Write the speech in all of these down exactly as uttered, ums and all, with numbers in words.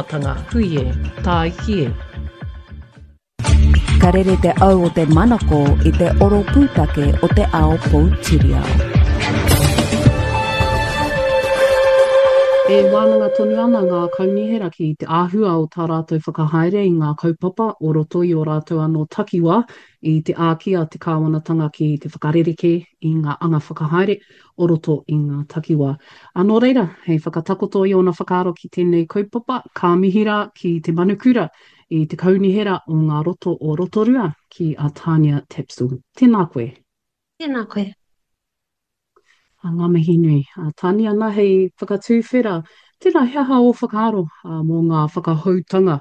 Tanga, hui e, tāiki e. Ka rere te au o te manako i te oro pūtake o te ao poutiriao. E wānanga tonu ana ngā kaunihera ki te āhua o tā rātou whakahaere i ngā kaupapa o roto i ō rātou anō takiwā i te āki a te kāwanatanga ki te whakarerekē i ngā anga whakahaere o roto i ngā takiwā. Ā, nō reira, hei whakatakoto i ōna whakaaro ki tēnei kaupapa, ka mihi rā ki te manukura i te Kaunihera o ngā Roto o Rotorua, ki a Tania Tapsell. Tēnā koe. Tēnā koe. Ā, ngā mihi nui. Ā, Tania, nā, hei whakatūwhera, tēnā, he aha ō whakaaro mō ngā whakahoutanga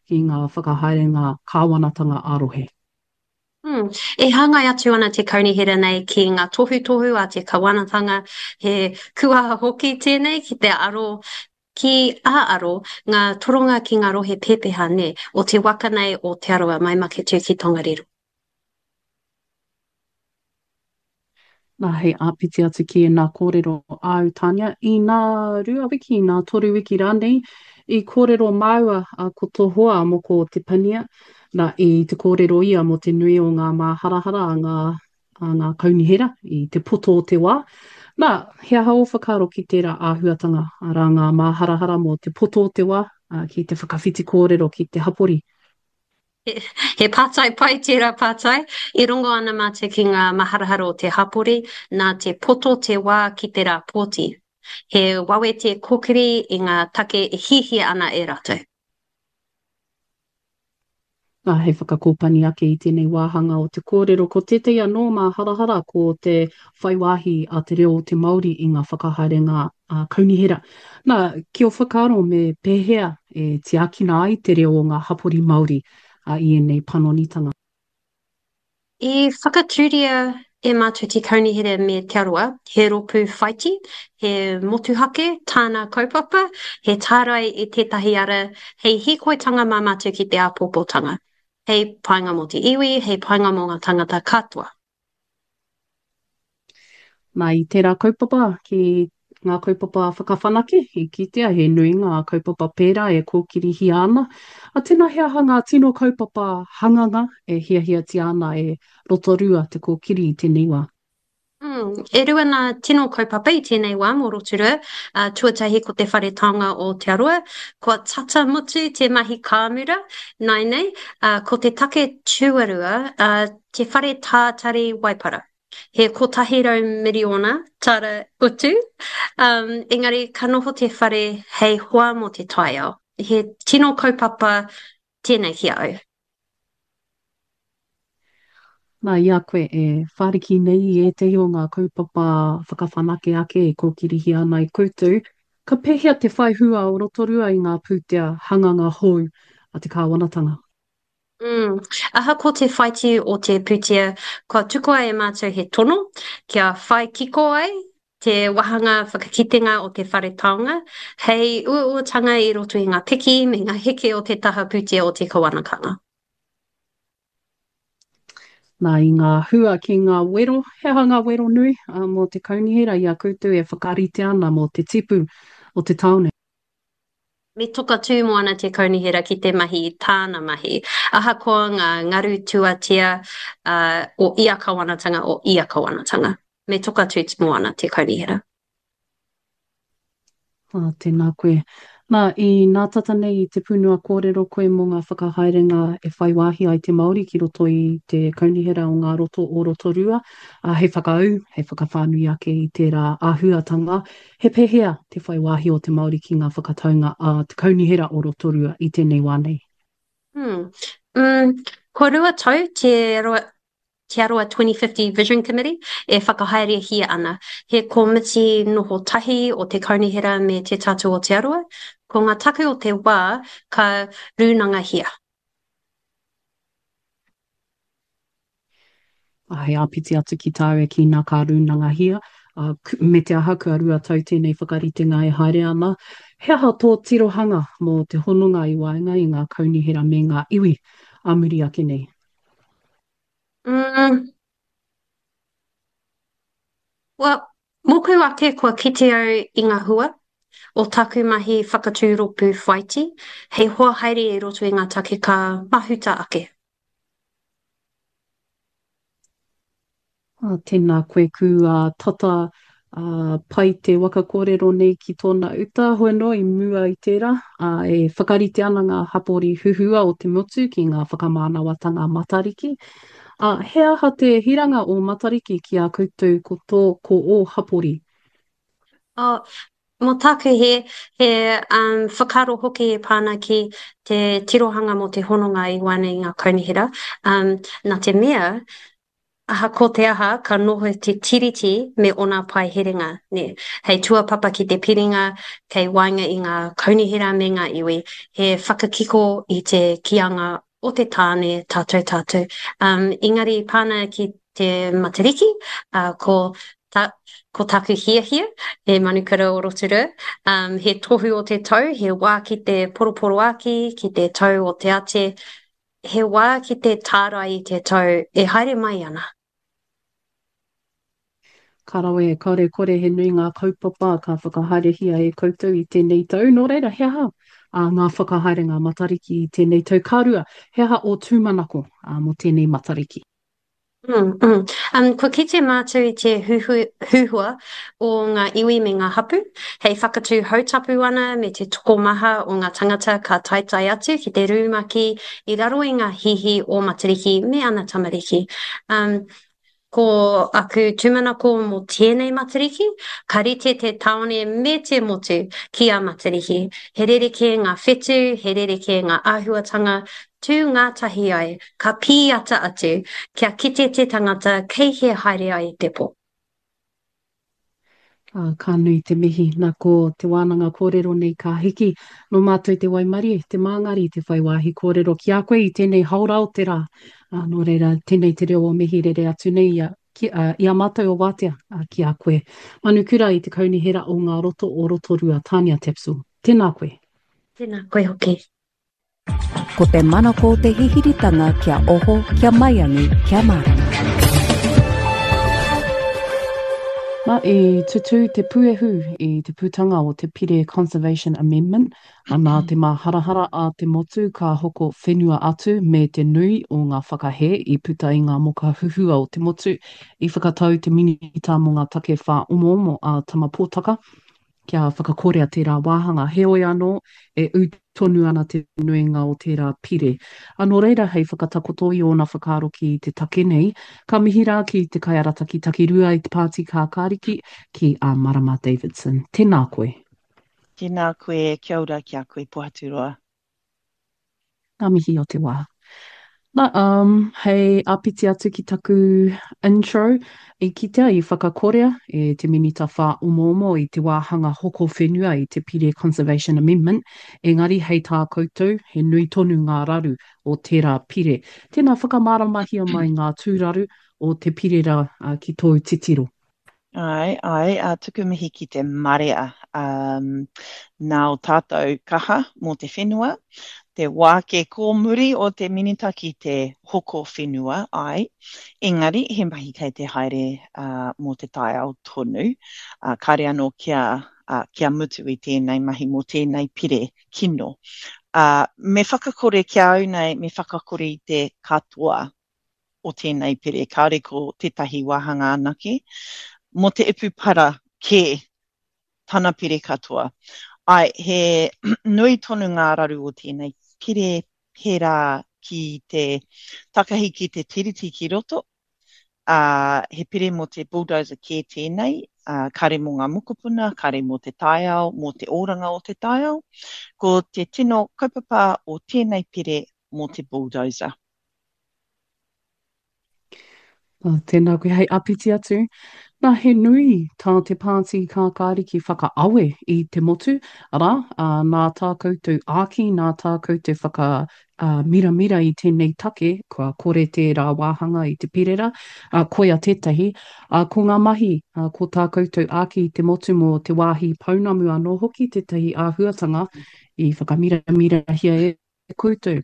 ki ngā whakahaerenga kāwanatanga ā-rohe? Mm. E hāngai atu ana te kaunihera nei ki ngā tohutohu a te kawanatanga, he kuaha hoki tēnei ki te aro, ki a aro ngā toronga ki ngā rohe pepeha, nē, o te waka nei o Te Arawa mai Maketū ki Tongariro. Nā, hei āpiti atu ki ēnā kōrero āu, Tania, inā rua wiki, inā toru wiki rānei, i kōrero māua ko tō hoa a Moko Te Pania, nā, i te kōrero ia mō te nui o ngā māharahara a ngā, a ngā kaunihera i te poto o te wā. Nā, he aha ō whakaaro ki tērā āhuatanga, arā ngā māharahara mō te poto o te wā, ki te whakawhiti kōrero ki te hapori? He pātai pai tērā pātai. I rongo ana mātou ki ngā maharahara o te hapori, nā te poto te wā ki te rā pōti. He wawe te kōkiri i ngā take e hiahia ana e rātou. Nā, hei whakakōpani ake i tēnei wāhanga o te kōrero, ko tētahi anō māharahara ko te whai wāhi a te reo o te Māori i ngā whakahaerenga kaunihera. Nā, ki ō whakaaro me pēhea e tiakina ai te reo o ngā hapori Māori i ēnei panonitanga? I whakatūria e mātou te Kaunihera me Te Arawa he rōpū whaiti, he motuhake tāna kaupapa, he tārai i tētahi ara hei hīkoitanga mā mātou ki te āpōpōtanga, hei painga mō te iwi, hei painga mō ngā tangata katoa. Nā, i tērā kaupapa ki ngā kaupapa whakawhanake, i kitea he nui ngā kaupapa pērā e kōkirihia ana. A tēnā he aha ngā tino kaupapa hanganga e hiahiatia ana e Rotorua te kōkiri i tēnei wā? Mm, e rua ngā tino kaupapa i tēnei wā mō Rotorua. Uh, tuatahi ko te Whare Taonga o Te Arawa. Kua tata mutu te mahi kāmura nāianei. Uh, ko te take tuarua, uh, te Whare Tātari Waipara. He kotahi rau miriona tāra utu, um, engari ka noho te whare hei hoa mō te taiao. He tino kaupapa tēnei ki a au. Nā, i a koe e whāriki nei i ētahi o ngā kaupapa whakawhanake ake e kōkirihia ana e koutou, ka pēhea te whai hua o Rotorua i ngā pūtea hanganga hou a te kāwanatanga? Mm. Ahakoa te whaiti o te pūtea, kua tukua e mātou he tono kia whai kiko ai te wāhanga whakakitenga o te whare taonga hei uauatanga i roto i ngā piki me ngā heke o te taha pūtea o te kawanakanga. Nā, i ngā hua ki ngā wero, he aha ngā wero nui mō te kaunihera i a koutou e whakarite ana mō te tipu o te tāone? Me toka tū moana te kaunihera ki te mahi i tāna mahi, ahakoa ngā ngaru tuatea o ia kawanatanga, o ia kawanatanga. Me toka tū moana te kaunihera. Ā, tēnā koe. Nā, i nā tata nei i te pūnua kōrero koe mō ngā whakahaerenga e whai wāhi ai te Māori ki roto i te Kaunihera o ngā Roto o Rotorua, ā, hei whakaū, hei whakawhānui ake i tērā āhuatanga. He pēhea te whai wāhi o te Māori ki ngā whakataunga a te Kaunihera o Rotorua i tēnei wā nei? Hmm. Mm, kua rua tau Te Roa, Te Arawa twenty fifty Vision Committee e whakahaerehia ana. He komiti noho tahi o te Kaunihera me Te Tatu o Te Arawa. Ko ngā take o te wā ka rūnangahia. Hei āpiti atu ki tāu e kī nā ka rūnangahia, ā, me te aha kua rua tau tēnei whakaritenga e haere ana, he aha tō tirohanga mō te hononga i waenga i ngā kaunihera me ngā iwi ā muri ake nei? Mm. Well, mōku ake kua kite au i ngā hua o taku mahi whakatū rōpū whaiti, hei hoa haere i roto i ngā take ka mahuta ake. Ā, tēnā koe ku ā, tata ā, pai te waka kōrero nei ki tōna uta, hoi anō i mua i tērā, ā, e whakarite ana ngā hapori huhua o te motu ki ngā whakamānawatanga Matariki. Ā, he aha te hiranga o Matariki ki a koutou ko tō, ko ō hapori? Oh, mō tāku he, he um, whakaaro hoki e pā ana ki te tirohanga mō te hononga i waenga i ngā kaunihera. Um, nā te mea, Ahakoa te aha, ka noho te Tiriti me ōna paeherenga, nē, hei tuapapa ki te piringa kei waenga i ngā kaunihera me ngā iwi, he whakakiko i te kīanga o te tāne tātou tātou. Um, engari pāna ki te Matariki, uh, ko, ta, ko taku hiahia, he manukura o Rotorua, um, he tohu o te tau, he wā ki te poroporoāki, ki te tau o te ate, He wā ki te tārai i te tau e haere mai ana. Ka rawe, kāore kore he nui ngā kaupapa ka whakahaerehia e koutou i tēnei tau. Nō reira, he aha ngā whakahaerenga Matariki i tēnei tau? Ka rua, he aha ō tūmanako mō tēnei Matariki? Mm, mm. Um, kua kite mātou i te huhu, huhua o ngā iwi me ngā hapu, hei whakatū hautapu ana me te tokomaha o ngā tangata ka taetae atu ki te rūmaki i raro i ngā hihi o Matariki me ana tamariki. Um, ko aku tūmanako mō tēnei Matariki, ka rite te tāone me te motu ki a Matariki. He rerekē ngā whetū, he rerekē ngā āhuatanga, Tū ngātahi ai, ka pīata atu, kia kite te tangata kei hea haere ai te pō. Ā, ka nui te mihi. Na, ko te wānanga kōrero nei ka hiki. Nō mātou te waimarie, te māngari, te whai wāhi kōrero ki a koe i tēnei haora o te rā. Ā, nō reira, tēnei te reo o mihi rere atu nei i a, ki, ā, i a mātou o Wātea, ā, ki a koe. Manukura i te Kaunihera o Ngā Roto o Rotorua, Tania Tapsell. Tēnā koe. Tēnā koe hoki. Ko te manako te hihiritanga kia oho, kia maiangi, kia mārama. Na, i tutū te puehu i te putanga o te Pire Conservation Amendment, a nā te māharahara a te motu ka hoko whenua atu me te nui o ngā whakahē i puta i ngā moka huhua o te motu, i whakatau te Minita mō ngā Take Whāomoomo a Tama Potaka kia whakakorea tērā wāhanga. Heoi anō, e ū tonu ana te nuinga o tērā pire. Ā, nō reira, hei whakatakoto i ōna whakaaro ki te take nei, ka mihi rā ki te kaiarataki takirua i te Pāti Kākāriki, ki a Marama Davidson. Tēnā koe. Tēnā koe, kia ora ki a koe Pohaturoa. Ngā mihi o te wā. Na, um, hei āpiti atu ki taku intro, i kitea i whakakorea e te Minita Whāomoomo i te wāhanga hoko whenua i te Pire Conservation Amendment, engari hei tā koutou, he nui tonu ngā raru o tērā pire. Tēnā whakamāramahia mai ngā tūraru o te pire rā ki tōu titiro. Āe, āe, ā, tuku mihi ki te marea, um, nā o tātou kaha mō te whenua, te wāke kōmuri o te minita ki te hoko whenua, āe, engari he mahi kei te haere uh, mō te taiao tonu, uh, kāre anō kia, uh, kia mutu i tēnei mahi mō tēnei pire kino. Uh, me whakakore ki a au nei, me whakakore i te katoa o tēnei pire, kāore ko tētahi wāhanga anake, mō te ipu para kē tana pire katoa. Āe, he nui tonu ngā raru o tēnei pire pērā ki te takahi ki te tiriti ki roto, ā, he pire mō te bulldozer kē tēnei, ā, kāre mō ngā mokopuna, kāre mō te taiao, mō te oranga o te taiao. Ko te tino kaupapa o tēnei pire mō te bulldozer. Oh, tēnā koe hei apiti atu. Nā, he nui tā te pāti kākāriki whakaawe i te motu, arā, ā, nā tā koutou āki, nā tā koutou whaka ā, miramira i tēnei take, kua kore tērā wāhanga i te perera, ā, koia tētahi, ā, ko ngā mahi, ā, ko tā koutou āki i te motu mō te wāhi pounamu anō hoki tētahi āhuatanga i whakamiramirahia e koutou.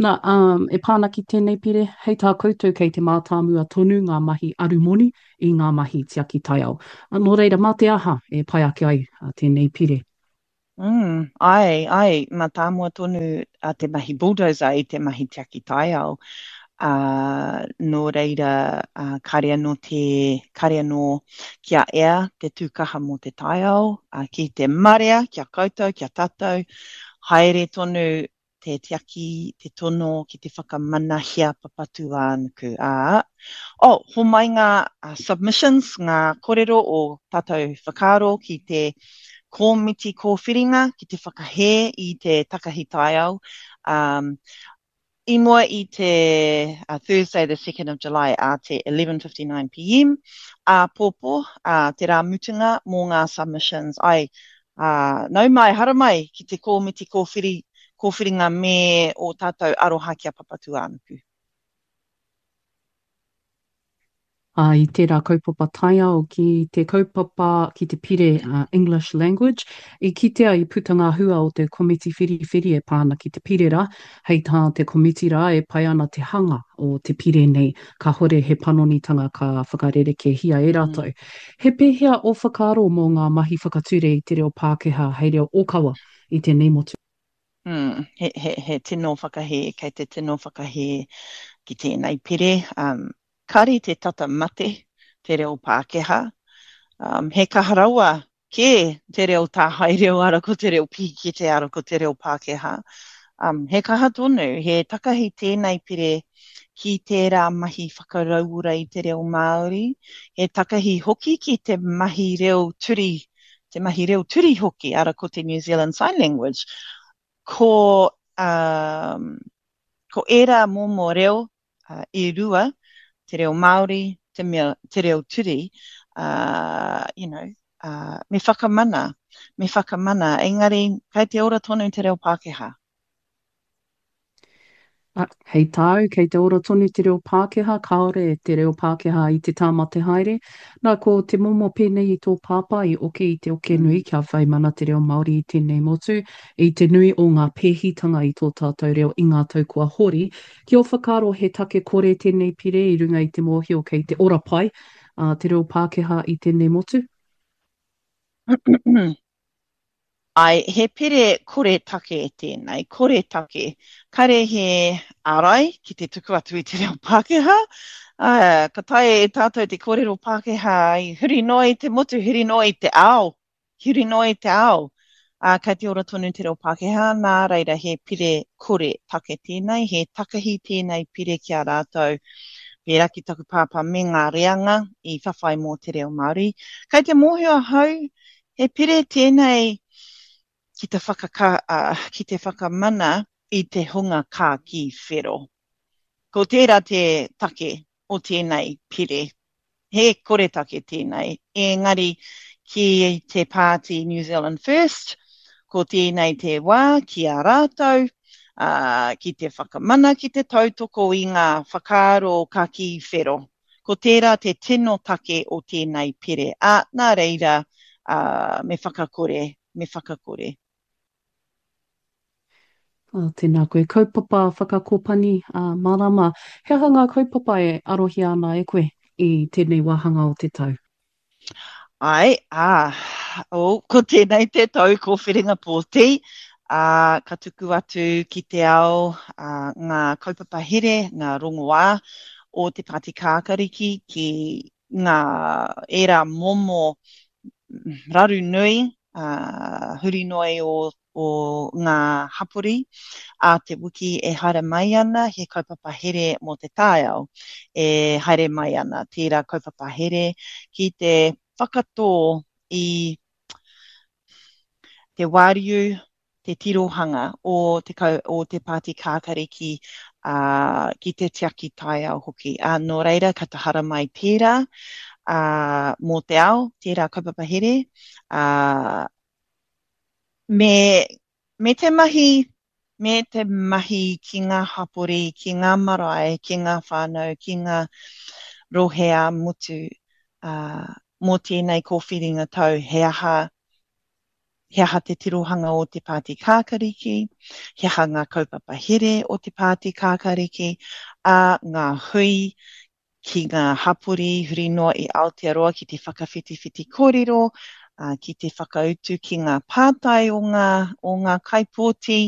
Nā, um, e pā ana ki tēnei pire, hei tā koutou kei te mātāmua tonu ngā mahi arumoni i ngā mahi tiaki taiao. Nō reira, mā te aha e pai ake ai tēnei pire? Mm, āe, āe, mātāmua tonu a te mahi bulldozer i te mahi tiaki taiao. Ā, nō reira, ā, kāre anō te, kāre anō kia ea te tūkaha mō te taiao, ā, ki te marea, ki a koutou, ki a tātou, haere tonu te tiaki, te tono ki te whakamanahia Papatūānuku. Ā, oh, homai ngā submissions, ngā korero o tātou whakaaro ki te kōmiti kōwhiringa ki te whakahē i te takahi taiao. Um, i mua i te uh, Thursday the second of July a te eleven fifty-nine p m āpōpō, uh, te rā mutunga mō ngā submissions. Ai, uh, nau mai, haramai ki te kōmiti kōwhiri, kōwhiringa me o tātou aroha ki a Papatūānuku. Ā, i tērā kaupapa taiao ki te kaupapa ki te pire uh, English Language, i kitea i puta ngā hua o te komiti whiriwhiri e pā ana ki te pire rā, hei tā te komiti rā e pai ana te hanga o te pire nei, kāhore he panonitanga ka whakarerekēhia e rātou. Mm. He pēhea ō whakaaro mō ngā mahi whakature i te reo Pākehā hei reo ōkawa i tēnei motu? Mm, he, he, he tino whakahē, kei te tino whakahē ki tēnei pire. Um, kāre te tata mate te reo Pākehā. Um, he kaha rawa kē te reo tāhae reo ara ko te reo pīkete ara ko te reo Pākehā. Um, he kaha tonu, he takahi tēnei pire ki tērā mahi whakarauora i te reo Māori, he takahi hoki ki te mahi reo turi, te mahi reo turi hoki, ara ko te New Zealand Sign Language. Ko, um, ko ērā momo reo uh, e rua, te reo Māori, te, mea, te reo turi, uh, you know, uh, me whakamana, me whakamana, engari kei te ora tonu te reo Pākehā. Ah, hei tāu, kei te ora tonu te reo Pākehā, kāore te reo Pākehā i te tāmate haere. Nā, ko te momo pēnei i tō pāpā i oke i te oke nui Mm. kia whai mana te reo Māori i tēnei motu, i te nui o ngā pēhitanga i tō tātou reo i ngā tau kua hori. Ki ō whakaaro he take kore tēnei pire i runga i te mōhio kei te ora pai a te reo Pākehā i tēnei motu? Ai, he pire kore take tēnei, kore take. Kare he ārai ki te tuku atu i te reo Pākehā. Uh, ka taea e tātou te kōrero Pākehā i huri noa i te motu, huri noa i te ao, huri noa i te ao. Uh, kei te ora tonu te reo Pākehā, nā reira he pire kore take tēnei, he takahi tēnei pire ki a rātou, pērā ki taku pāpā me ngā reanga i whawhai mō te reo Māori. Kei te mōhio ahau, he pire tēnei ki te whakaka, uh, ki te whakamana i te hunga kākī whero. Ko tērā te take o tēnei pire. He kore take tēnei. Engari ki te pāti New Zealand First, ko tēnei te wā ki a rātou, uh, ki te whakamana, ki te tautoko i ngā whakaaro kākī whero. Ko tērā te tino take o tēnei pire. Ā, nā reira, uh, me whakakore, me whakakore. Oh, tēnā koe. Kaupapa whakakōpani, uh, marama. He aha ngā kaupapa e arohia ana e koe i tēnei wāhanga o te tau? Ai, ā, oh, ko tēnei te tau kōwhiringa pōti, ā, ka tuku atu ki te ao ā, ngā kaupapa here, ngā rongoā o te Pāti Kākariki ki ngā ērā momo raru nui, ā, huri noa i o, o ngā hapori a te wiki e haere mai ana, he kaupapa here mō te taiao e haere mai ana. Tērā kaupapa here ki te whakatō i te wāriu, te tirohanga o te, kau, o te Pāti Kākariki, uh, ki te tiaki taiao hoki. Uh, nō reira, ka tahara mai tērā uh, mō te ao, tērā kaupapa here, uh, me, me te mahi, me te mahi ki ngā hapori, ki ngā marae, ki ngā whānau, ki ngā rohe ā-motu, uh, mō tēnei kōwhiringa tau, he aha, he aha te tirohanga o te Pāti Kākariki, he aha ngā kaupapa here o te Pāti Kākariki, a ngā hui ki ngā hapori huri noa i Aotearoa ki te whakawhitiwhiti kōrero, ā, ki te whakautu ki ngā pātai o ngā, o ngā kaipōti,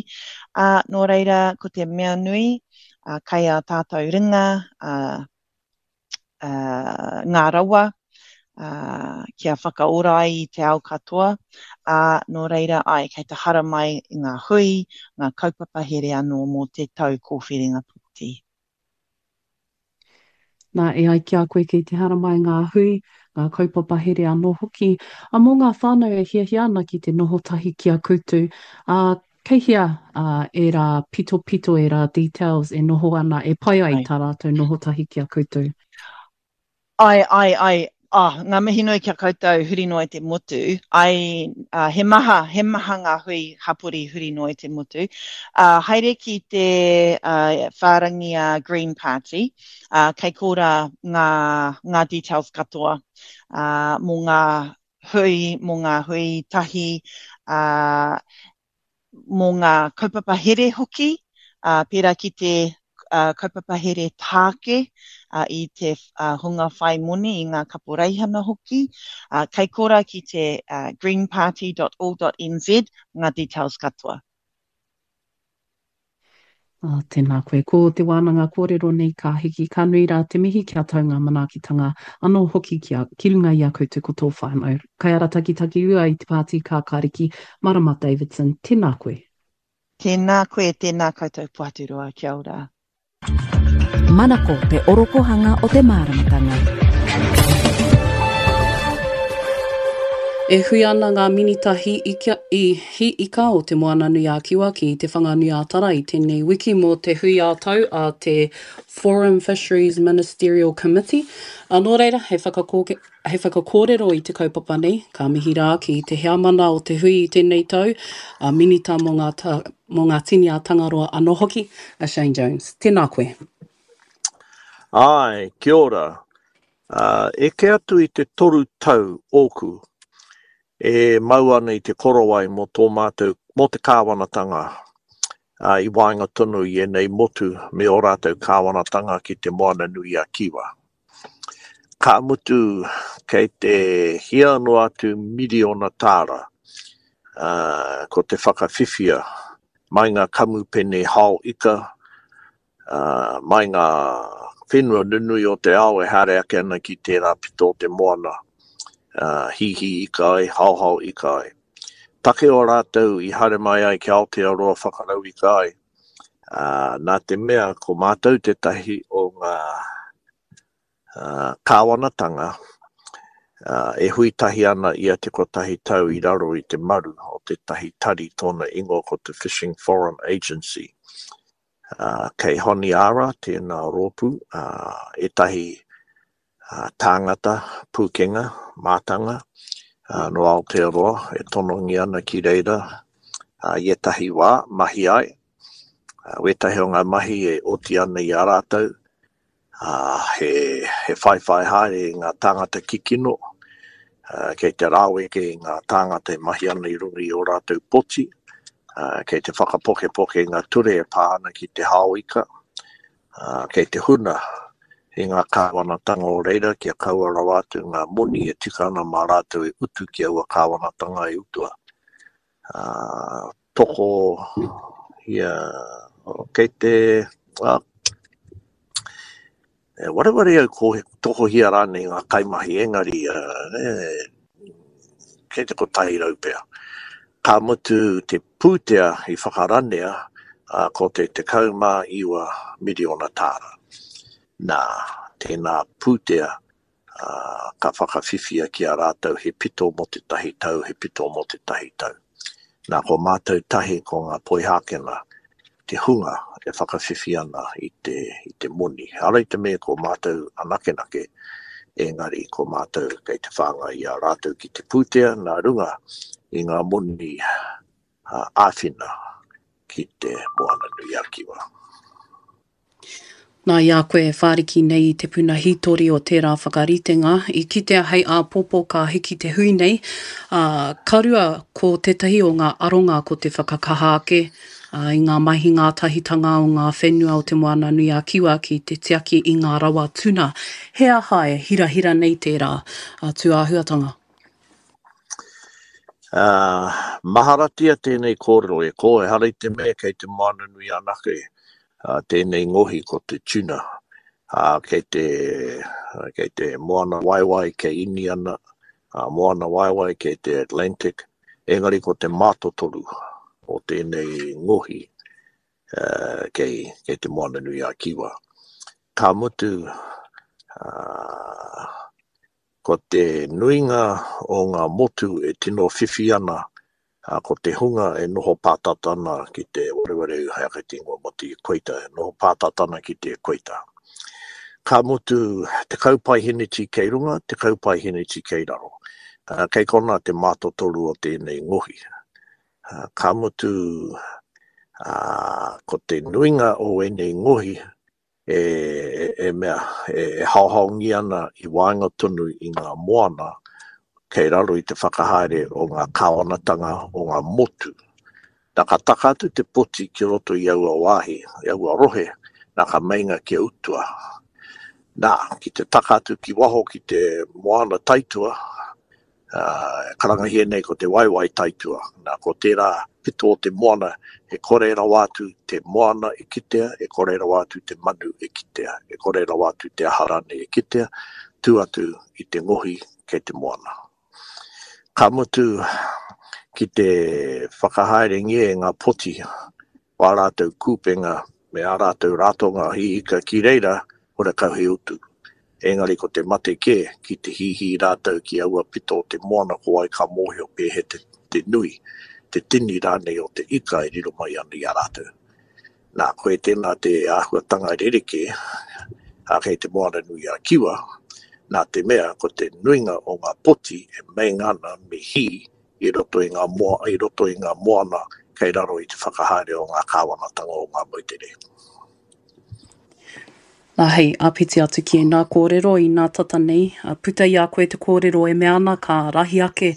ā, nō reira, ko te mea nui, ā, kei ā tātou ringa, ā, ā, ngā rawa, ā, kia whakaora ai i te ao katoa, ā, nō reira, āe, kei te haramai ngā hui, ngā kaupapa here anō mō te tau kōwhiringa pōti. Nā, e ai ki a koe kei te haramai ngā hui, ngā kaupapa here anō hoki, ā, mō ngā whānau e hiahia ana ki te noho tahi ki a koutou, ā, kei hea, ā, ērā pitopito, ērā details e noho ana, e pai ai tā rātou noho tahi ki a koutou? Āe, āe, āe, oh, ngā mihi nui ki a koutou huri noa i te motu. Āe, uh, he maha, he maha ngā hui hapori huri noa i te motu. Uh, haere ki te uh, whārangi a Green Party, uh, kei korā ngā, ngā details katoa uh, mō ngā hui, mō ngā hui tahi, uh, mō ngā kaupapa here hoki, ā, pērā ki te kaupapa here tāke i te hunga whai moni, i ngā kaporeihana hoki. Kei korā ki te greenparty dot org dot nz ngā details katoa. Oh, tēnā koe. Ko te wānanga kōrero nei ka hiki, ka nui rā te mihi kia tau ngā manaakitanga anō hoki ki a, ki runga i a koutou ko tō whānau. Kaiarataki Rua i te Pāti Kākāriki, Marama Davidson, tēnā koe. Tēnā koe, tēnā koutou Pohaturoa, kia ora. Manako te orokohanga o te māramatanga. E hui ana ngā Minita hī ika, i hī ika o Te Moananui-a-Kiwa ki Te Whanganui-a-Tara i tēnei wiki mō te hui ā-tau a te Forum Fisheries Ministerial Committee. Ā, nō reira, hei whakakōke, hei whakakōrero i te kaupapa nei, ka mihi rā ki te heamana o te hui i tēnei tau, a Minita mō ngā, ta, mō ngā tini a Tangaroa anō hoki, a Shane Jones. Tēnā koe. Āe, kia ora. Ā, eke atu i te toru tau ōku e mau ana i te korowai mō tō mātou, mō te kāwanatanga, ā, i waenga tonu i ēnei motu me ō rātou kāwanatanga ki Te Moana-nui-a-Kiwa. Ka mutu, kei te hia noa atu miriona tāra, ā, ko te whakawhiwhia mai ngā kamupene hao ika, ā, mai ngā whenua nunui o te ao e haere ake ana ki tērā pito o te moana, ā, hīhī ika ai, haohao ika ai. Take o rātou i haere mai ai ki Aotearoa whakarauika ai, ā, nā te mea ko mātou tētahi o ngā kāwanatanga e hui tahi ana ia te kotahi tau i raro i te maru o tētahi tari tōna ingoa ko te Fishing Forum Agency. Kei Honiara tēnā rōpū, ētahi tāngata, pūkenga, mātanga nō Aotearoa e tonongia ana ki reira i ētahi wā mahi ai. Wētahi o ngā mahi e oti ana i a rātou, he, he whaiwhai haere i ngā tāngata kikino, kei te raweke i ngā tāngata e mahi ana i runga i ō rātou poti, kei te whakapokepoke i ngā ture e pā ana ki te hao ika, kei te huna i ngā kāwanatanga o reira kia kaua rawa atu ngā moni e tika ana mā rātou e utu ki aua kāwanatanga e utua. Toko ia, kei te, e wareware au ko tokohia rānei ngā kaimahi, engari kei te kotahi rau pea. Ka mutu te pūtea i whakaranea ko te tekau mā iwa miriona tāra. Nā, tēnā pūtea ka whakawhiwhia ki a rātou he pito mō tētahi tau, he pito mō tētahi tau. Nā, ko mātou tahi ko ngā Poihākena te hunga e whakawhiwhi ana i te, i te moni. Ehara i te mea ko mātou anakenake, engari ko mātou kei te whāngai i a rātou ki te pūtea nā runga i ngā moni āwhina ki te Moana-nui-a-Kiwa. Nā, i a koe e whāriki nei i te puna hītori o tērā whakaritenga, i kitea hei āpōpō ka hiki te hui nei, ā, ka rua ko tētahi o ngā aronga ko te whakakaha ake i ngā mahi ngātahitanga o ngā whenua o Te Moana-nui-a-Kiwa ki te tiaki i ngā rawa tuna. He aha e hirahira nei tērā tūāhuatanga? Ā, maharatia tēnei kōrero e kō, ehara i te mea kei te moana nui anake tēnei ngohi ko te tuna, ā, kei te, kei te moana waiwai kei Iniana, ā, moana waiwai kei te Atlantic, engari ko te mātotoru o tēnei ngohi ā, kei, kei te moana nui a Kiwa. Ka mutu, ā, Ko te nuinga o ngā motu e tino whiwhi ana, ko te hunga e noho pātata ana ki te warewareu hei ake te ingoa mō te equator, e noho pātata ana ki te equator. Ka mutu, tekau paeheneti kei runga, tekau paeheneti kei raro. Kei konā te mātotoru o tēnei ngohi. Ka mutu, ko te nuinga o ēnei ngohi e, e mea, e, e haohaongia ana i waenga tonu i ngā moana kei raro i te whakahaere o ngā kāwanatanga o ngā motu. Nā, ka taka atu te poti ki roto i aua wāhi, i aua rohe, nā ka meinga kia utua. Nā, ki te taka atu ki waho ki te moana taitua, ā, e karangahia nei ko te waewae taitua. Nā, ko tērā pito o te moana, e kore rawa atu te moana e kitea, e kore rawa atu te manu e kitea, e kore rawa atu te aha rānei e kitea, tū atu i te ngohi kei te moana. Ka mutu, ki te whakahaerengia e ngā poti o ā rātou kūpenga me ā rātou ratonga hī ika ki reira, horekau he utu. Engari ko te mate kē, ki te hīhī rātou ki aua pito o te moana ko wai ka mōhio pēhea te, te nui, te tini rānei o te ika e riro mai ana i a rātou. Nā, koe tēnā te āhuatanga rerekē, ā, kei te Moana nui a Kiwa, nā te mea ko te nuinga o ngā poti e meinga ana me hī i roto i ngā moa, i roto i ngā moana kei raro i te whakahaere o ngā kāwanatanga o ngā moutere. Nā, hei āpiti atu ki ēnā kōrero i nā tata nei, puta i a koe te kōrero e mea ana ka rahi ake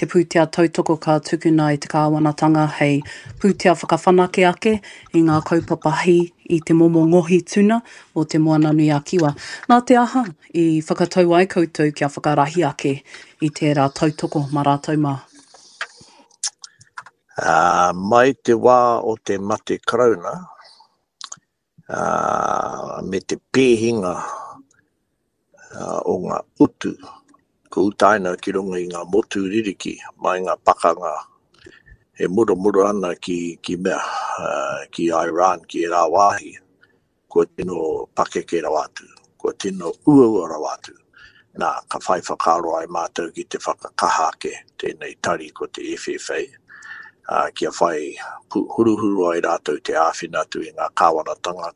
te pūtea tautoko ka tukuna e te kāwanatanga hei pūtea whakawhanake ake i ngā kaupapa hī i te momo ngohi tuna o Te Moananui-a-Kiwa. Nā te aha i whakatau ai koutou kia whakarahi ake i tērā tautoko mā rātou mā? Ā, mai te wā o te mate Karauna, ā, me te pēhinga o ngā utu kua utaina ki runga i ngā motu ririki mai ngā pakanga e muramura ana ki, ki mea, ki Iran, ki ērā wāhi, kua tino pakeke rawa atu, kua tino uaua rawa atu. Nā, ka whai whakaaro ai mātou ki te whakakaha ake tēnei tari ko te F F A, ā, kia whai huruhuru ai rātou te āwhina atu i ngā kāwanatanga,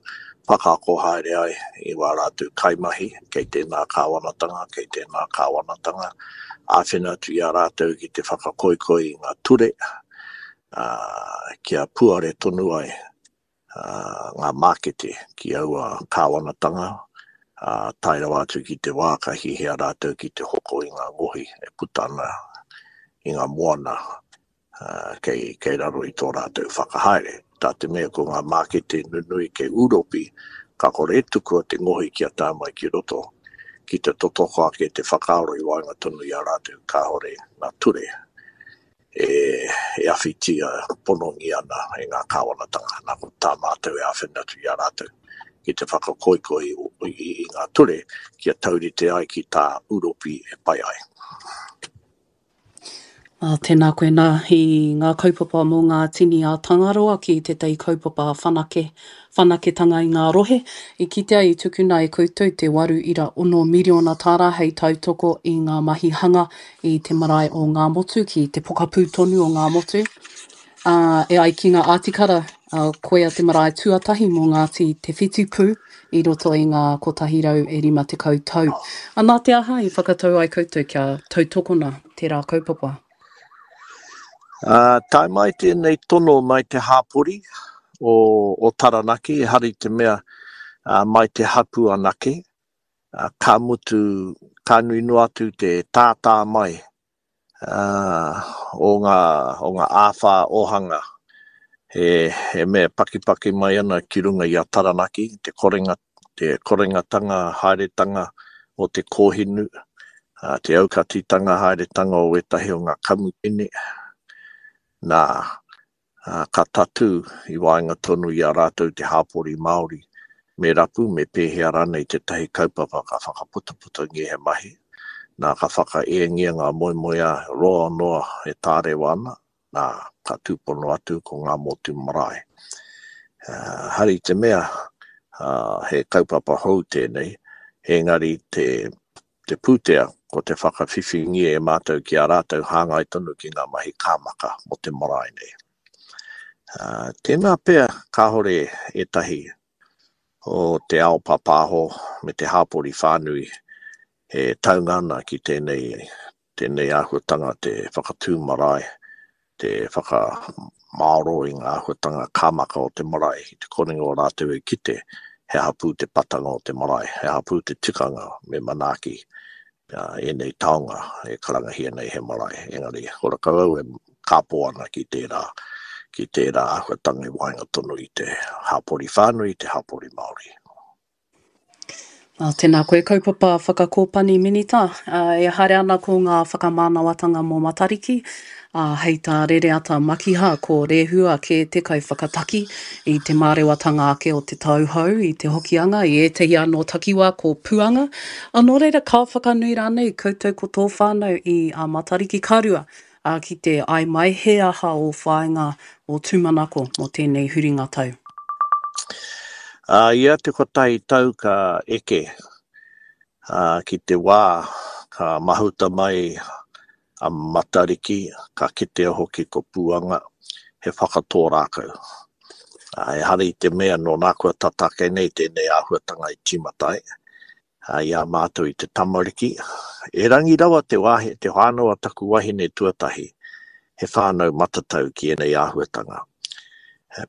whakaako haere ai i wā rātou kaimahi, kei tēnā kāwanatanga, kei tēnā kāwanatanga, āwhina atu i a rātou ki te whakakoikoi i ngā ture, ā, kia puare tonu ai ngā mākete ki aua kāwanatanga, ā, tae rawa atu ki te wā ka hihia rātou ki te hoko i ngā ngohi e puta ana i ngā moana kei, kei raro i tō rātou whakahaere. Tā te mea ko ngā mākete nunui kei Ūropi, ka kore e tukua te ngohi kia tae mai ki roto, ki te totoko ake te whakaaro i waenga tonu i a rātou kāore ngā ture e, e awhitia ponongia ana e ngā kāwanatanga. Nā, ko tā mātou e āwhina atu i a rātou ki te whakakoikoi i, i, i ngā ture kia taurite ai ki tā Ūropi e pai ai. Ā, tēnā koe nā i ngā kaupapa mō ngā tini a Tangaroa ki tētahi kaupapa whanake, whanaketanga i ngā rohe. I kitea i tukuna e koutou te waru ira ono miriona tāra hei tautoko i ngā mahi hanga i te marae o Ngāmotu ki te pokapū tonu o Ngāmotu. Ā, e ai ki ngā ātikara, ā, koia te marae tuatahi mō Ngāti Te Whitipū i roto i ngā kotahi rau e rima tekau tau. Ā, nā te aha i whakatau ai koutou kia tautokona tērā kaupapa? Ā, tae mai tēnei tono mai te hāpori o, o Taranaki, ehara i te mea ā, mai te hapū anake, ā, ka mutu, ka nui noa atu te tātā mai ā, o ngā, o ngā āwhā ōhanga he, he mea pakipaki mai ana ki runga i a Taranaki, te korenga, te korengatanga haeretanga o te kōhinu, ā, te aukatitanga haeretanga o ētahi o ngā kamupene, Nā, ka tatū i waenga tonu i a rātou te hāpori Māori, me rapu, me pēhea rānei tētahi kaupapa ka whakaputaputangia he mahi, nā, ka whakaēngia ngā moemoeā roa noa e tārewa ana, nā, ka tūpono atu ko ngā motu marae. Uh, hari te mea, uh, he kaupapa hou tēnei, engari te, te pūtea ko te whakawhiwhingia e mātou ki a rātou hāngai tonu ki ngā mahi kāmaka mō te marae nei. Uh, tēnā pea kāhore ētahi o te ao pāpāho me te hāpori whānui e taunga ana ki tēnei, tēnei āhuatanga te whakatū marae, te whakamāro i ngā āhuatanga kāmaka o te marae, i te korenga o rātou e kite he hapū te patanga o te marae, he hapū te tikanga me manaaki uh, ēnei taonga e karangahia nei he marae. Engari, horakau au e kāpō ana ki tērā, ki tērā āhuatanga i waenga tonu i te hāpori whānui, te hāpori Māori. Ā, tēnā koe kaupapa whakakōpani Minita, ā, e haere ana ko ngā whakamānawatanga mō Matariki, ā, hei tā Rereata Makiha ko Rehua kē te kaiwhakataki i te mārewatanga ake o te tau hou i te Hokianga, i ētahi anō takiwā ko Puanga. Ā, nō reira ka whakanui rānei koutou ko tō whānau i a Matariki ka rua, ā, ki te ai mai he aha ō whāinga, ō tūmanako mō tēnei huringa tau? Ā, ia te kotahi tau ka eke, ā, ki te wā ka mahuta mai a Matariki, ka kitea hoki ko Puanga, he whakatō rākau. Ā, ehara i te mea nō nā kua tata ake nei tēnei āhuatanga i tīmata ai, ā, i a mātou i te tamariki. Erangi rawa te wāhi, te whānau a taku wahine tuatahi, he whānau matatau ki ēnei āhuatanga.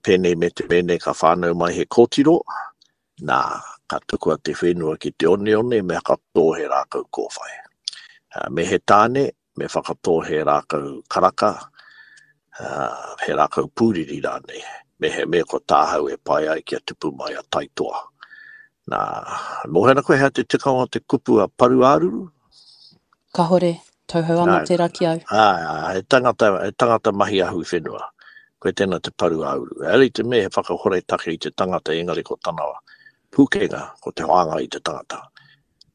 Pēnei me te mēnei ka whānau mai he kōtiro, nā, ka tukua te whenua ki te oneone me whakatō he rākau kōwhai. Me he tāne, me whakatō he rākau karaka, he rākau pūriri rānei, me he mea ko tāhau e pai ai kia tupu mai a Taitoa. Nā, mōhio ana koe hea te tikanga o te kupu a paru-ā-ruru? Kahore, tauhou ana tērā ki au. Āe, āe, he tangata, he tangata mahi ahu whenua. Koe tēnā te paru ā-uru. Ehara i te mea he whakahore take i te tangata engari ko tana pūkenga, ko te whāngai i te tangata.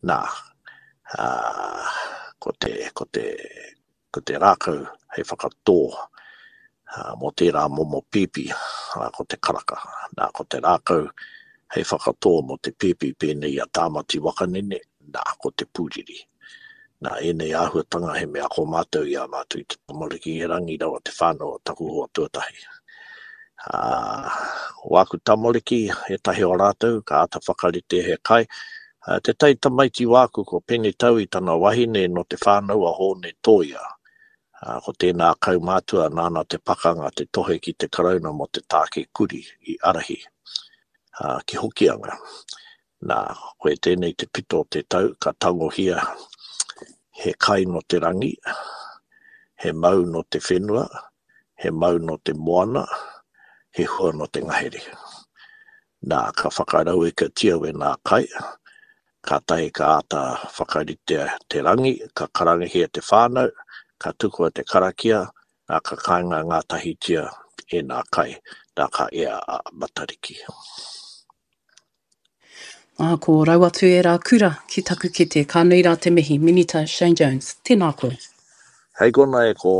Nā, ā, ko te, ko te, ko te rākau hei whakatō ā, mō tērā momo pīpī, ā, ko te karaka. Nā, ko te rākau hei whakatō mō te pīpī pēnei i a Tāmati Wakanene, nā, ko te pūriri. Nā ēnei āhuatanga he mea ako mātou i a mātou i te tamariki erangi rawa te whānau o taku hoa tuatahi. Ā, wāku tamariki, ētahi o rātou, ka āta whakarite he kai. Ā, tētahi tamaiti wāku ko Pene Tau i tana wahine nō te whānau a Hōne Tōia. Ā, ko tēnā kaumātua nāna te pakanga te tohe ki te Karauna mō te tāke kuri i ārahi, ā, ki Hokianga. Nā, koe tēnei te pito o te tau, ka tangohia he kai nō te rangi, he mau nō te whenua, he mau nō te moana, he hua nō te ngahere. Nā, ka whakarauikatia wēnā kai, kātahi ka āta whakaritea te rangi, ka karangahia te whānau, ka tukua te karakia, nā, ka kainga ngātahitia ēnā kai, nā, ka ea a Matariki. Ā, ko rau atu ērā kura ki taku kete. Ka nui rā te mihi, Minita Shane Jones. Tēnā koe. Hei kona e kō.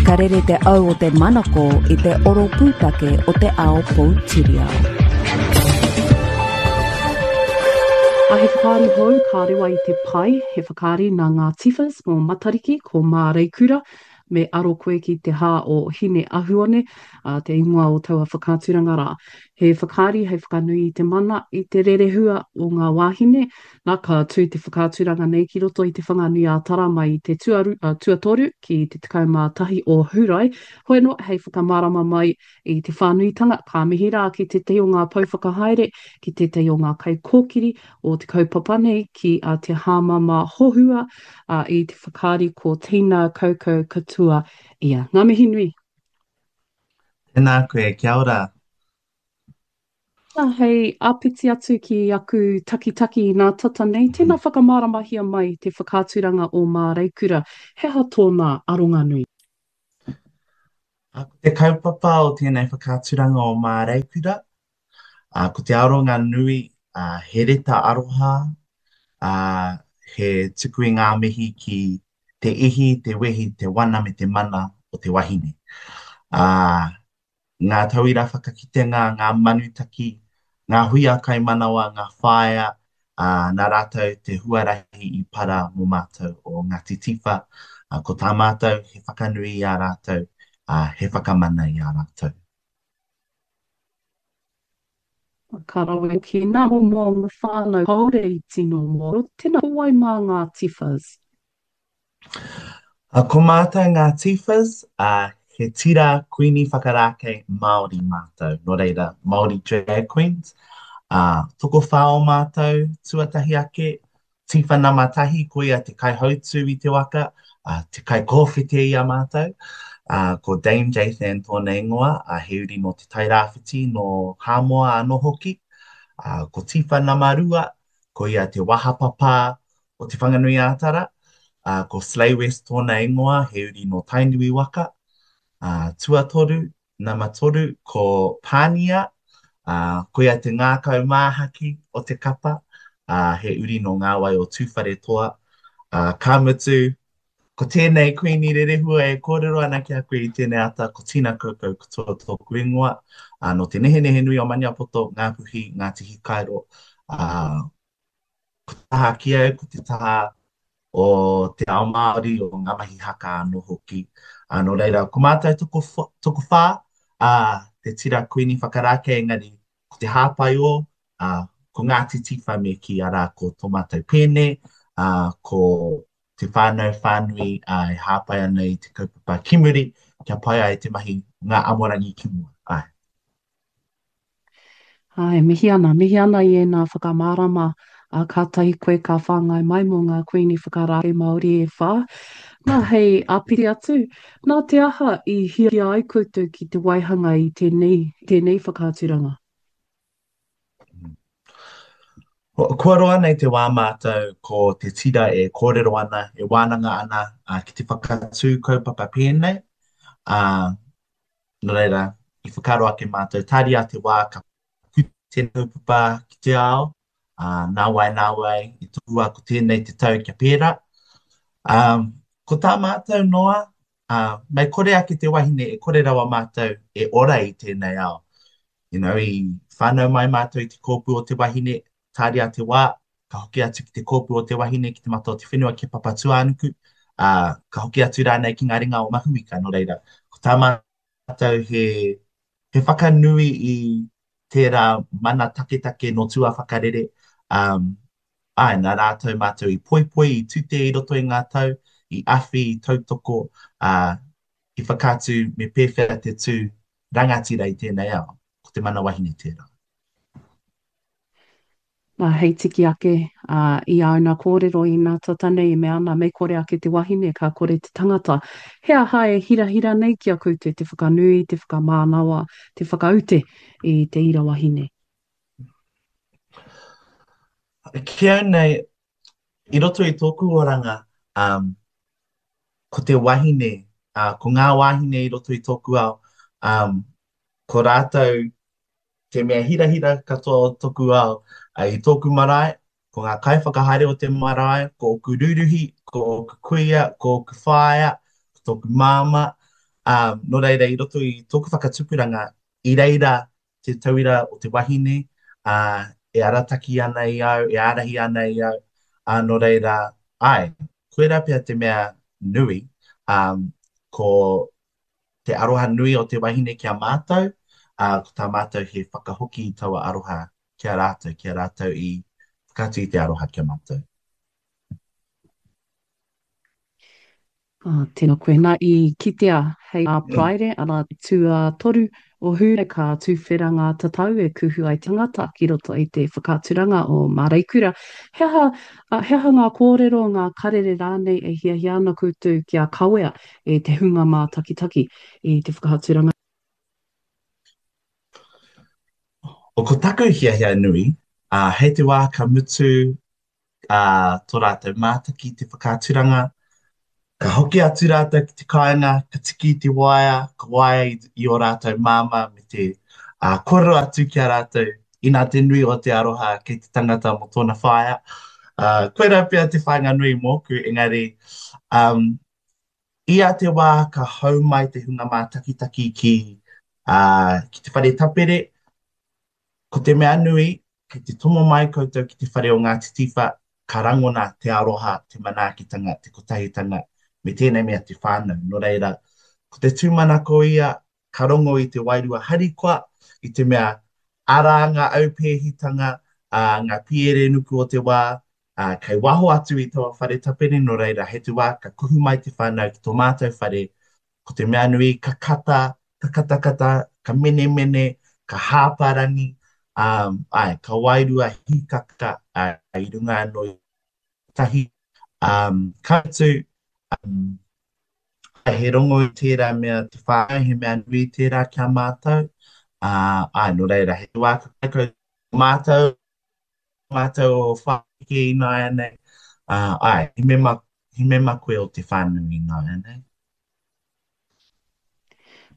Ka rere te au o te manako i te oro pūtake o te ao poutiriao. A he whakaari hou ka rewa i te pae, he whakaari nā ngā Tifas mō Matariki, ko Māreikura, Me aro koe ki te hā o Hine Ahuone, ā, te ingoa o taua whakaaturanga rā. He whakaari hei whakanui i te mana, i te rerehua o ngā wāhine. Nā, ka tū te whakaaturanga nei ki roto i Te Whanganui-ā-Tara mai i te tuaru, ā, tuatoru ki te tekau mā tahi o Hurae. Hoi anō, hei whakamārama mai i te whānuitanga, ka mihi rā ki tētahi o ngā pou whakahaere, ki tētahi o ngā kaikōkiri o te kaupapa nei, ki a Te Hāmama Hohua, ā, i te whakaari ko Tina Kaukau Katua ia. Ngā mihi nui. Tēnā koe, kia ora. Nā, hei āpiti atu ki aku takitaki inā tata nei, tēnā whakamāramahia mai te whakaaturanga o Māreikura, he aha tōna aronga nui? Ko te kaupapa o tēnei whakaaturanga o Māreikura, ko te aronga nui, he reta aroha, he tuku i ngā mihi ki te ihi, te wehi, te wana me te mana o te wahine. Ngā tauira whakakitenga, ngā manutaki, ngā huia kaimanawa, ngā whaea, ā, nā rātou te huarahi i para mō mātou o Ngāti Tiwha. Ā, ko tā mātou he whakanui i a rātou, ā, he whakamana i a rātou. Ka rawe hoki nā momo whānau kāore i tino mōhio, tēnā, ko wai mā ngā Tiwhas? Ko mātou ngā Tiwhas, he tira kuini whakarākei Māori mātou, nō reira, Māori drag queens. Tokowhā o mātou tuatahi ake, Tiwha nama tahi, koia te kaihautū i te waka, te kaikōwhete i a mātou. Ko Dame Jathan tōna ingoa, he uri nō Te Tairāwhiti, nō Hāmoa anō hoki. Ko Tiwha nama rua, koia te wahapapa o Te Whanganui-ā-Tara, ā, ko Slay West tōna ingoa, he uri nō Tainui waka. Ā, tuatoru, nama toru, ko Pānia, ā, koia te ngākau māhaki o te kapa, ā, he uri nō ngā wai o Tūwharetoa. Ā, ka mutu, ko tēnei Kuini Rerehua e kōrero ana ki a koe i tēnei ata, ko Tina Kaukau Katoa tōku ingoa, ā, nō Te Nehenehenui o Maniapoto, Ngāpuhi, Ngāti Hikairo, ā, Ko te taha ki au, ko te taha o te ao Māori, o ngā mahi haka anō hoki. Ā, nō reira, ko mātou tokowhā, ā, te tira Kuini Whakarākei, engari ko te hāpai ō, ā, ko Ngāti Tiwha me kī, arā, ko tō mātou pēne, ā, ko te whānau whānui, ā, e hāpai ana i te kaupapa ki muri, kia pai ai te mahi ngā amorangi ki mua. Āe. Āe, mihi ana, mihi ana i ēnā whakamārama, ā, kātahi koe ka whāngai mai mō ngā Kuini Whakarākei Māori e whā. Nā, hei āpiti atu, nā te aha i hiahia ai koutou ki te waihanga i tēnei, tēnei whakaaturanga? Kua roa nei te wā mātou ko te tira e kōrero ana, e wānanga ana ki te whakatū kaupapa pēnei, ā, Nō reira, i whakaaro ake mātou, tāria te wā ka puta tēnei kaupapa ki te ao, ā, nāwai, nāwai, i tohua ko tēnei te tau kia pērā. Ā, ko tā mātou noa, ā, mei kore ake te wahine e kore rawa mātou e ora i tēnei ao. You know, i whānau mai mātou i te kōpū o te wahine, tāria te wā, ka hoki atu ki te kōpū o te wahine, ki te mata o te whenua, ki a Papatūānuku, ā, ka hoki atu rānei ki ngā ringa o Mahuika. Nō reira, ko tā mātou he, he whakanui i tērā mana taketake nō tuawhakarere, ā, āe, nā rātou mātou i poipoi, i tute i roto i ngā tau, i awhi, i tautoko, ā, i whakaatu me pēwhea te tū rangatira i tēnei ao, ko te mana wahine tērā. Nā, hei tiki ake, ā, i āuna kōrero inā tata nei e mea ana, mei kore ake te wahine, ka kore te tangata. He aha e hirahira nei ki a koutou te whakanui, te whakamānawa, te whakaute i te ira wahine? Ki au nei, i roto i tōku oranga, um, ko te wahine, uh, ko ngā wāhine i roto i tōku ao, um, ko rātou te mea hirahira katoa o toku ao, i tōku marae, ko ngā kaiwhakahaere o te marae, ko ōku rūruhi, ko ōku kuia, ko ōku whaea, ko tōku māmā, ā, nō reira i roto i tōku whakatupuranga, i reira te tauira o te wahine, ā, e arataki ana i au, e ārahi ana i au, ā, nō reira, āe, koirā pea te mea nui, ā, ko te aroha nui o te wahine ki a mātou, ā, ko tā mātou he whakahoki i taua aroha ki a rātou, ki a rātou i whakaatu i te aroha ki a mātou. Ā, tēnā koe. Nā, i kitea hei ā Paraire, arā, te tuatoru o Hūrae, ka tuwhera ngā tatau e kuhu ai te tangata ki roto i te whakaaturanga o Māreikura. He aha, he aha ngā kōrero, ngā karere rānei e hiahia ana koutou kia kawea e te hunga mātakitaki i te whakaaturanga? O ko taku hiahia nui, ā, hei te wā ka mutu ā, tō rātou mātaki i te whakaaturanga, Ka hoki atu rātou ki te kāinga, ka tiki i te waea, ka waea i, i ō rātou māmā me te uh, kōrero atu ki a rātou inā te nui o te aroha kei te tangata mō tōna whaea. Uh, koirā pea te whāinga nui mōku, engari um, ia te wā ka hau mai te hunga mātakitaki ki, uh, ki te whare tapere, ko te mea nui, kei te tomo mai koutou ki te whare o Ngāti Tiwha, ka rangona te aroha, te manaakitanga, te kotahitanga, me tēnei mea te whānau. Nō reira, ko te tūmanako ia, ka rongo i te wairua harikoa, i te mea arā ngā aupēhitanga, ā, ngā piere nuku o te wā, ā, kei waho atu i taua whare tapere, nō reira, hei te wā ka kuhu mai te whānau ki tō mātou whare, ko te mea nui ka kata, ka katakata, ka menemene, ka hāparangi, ā, āe, ka wairua hīkaka, ā, i runga anō i tahi, ā, ka mutu, ā, he rongo i tērā mea te whānau, he mea nui tērā ki a mātou, ā, āe, nō reira, he wā ka kai koutou mātou, mātou o Whākeke ināianei, ā, āe, he mema, he mema koe o te whānau ināianei.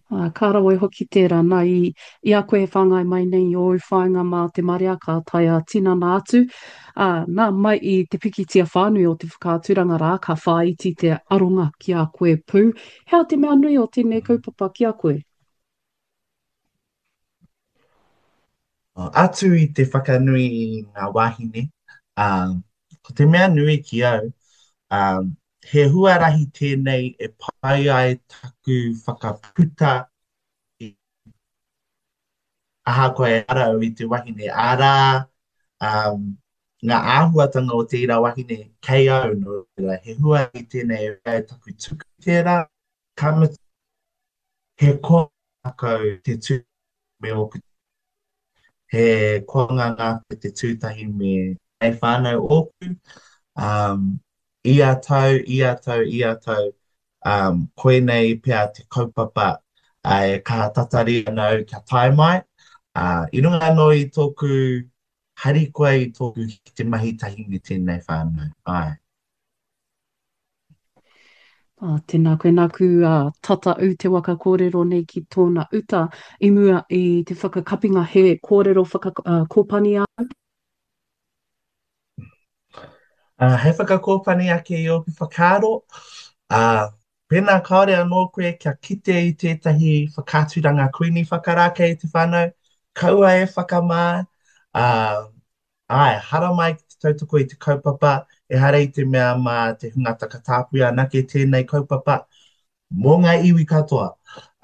Ā, ka rawe hoki tērā, nā, i, i a koe e whāngai mai nei i ōu whāinga mā te marea ka tae ā-tinana atu, ā, nā, mai i te pikitia whānui o te whakaaturanga rā, ka whāiti te aronga ki a koe pū. He aha te mea nui o tēnei kaupapa ki a koe? Atu i te whakanui i ngā wāhine, ā, ko te mea nui ki au, ā, he huarahi tēnei e pai ai taku whakaputa i, ahakoa ehara au i te wahine, arā, ā, ngā āhuatanga o te ira wahine kei au, nō reira, he huarahi tēnei e pai ai taku tuku tērā, ka mutu, he koa ngākau te tū me ōku he koanga ngākau te tū tahi me hei whānau ōku. Um, ia tau, ia tau, ia tau, um, koinei pea te kaupapa uh, e kaha tatari ana au kia tae mai. Uh, i runga anō i tōku harikoa i tōku ki te mahi tahi me tēnei whānau. Āe. Ā, tēnā koe, nāku ā, tata ū te waka kōrero nei ki tōna uta i mua i te whakakapinga he kōrero whaka, ā, kōpani āu. Ā, hei whakakōpani ake i ōku whakaaro, ā, pēnā kāore anō koe kia kite i tētahi whakaaturanga Kuini Whakarākei i te whānau, kaua e whakamā, ā, Āe, haramai ki te tautoko i te kaupapa, ehara i te mea mā te hunga takatāpui anake tēnei kaupapa, mō ngā iwi katoa.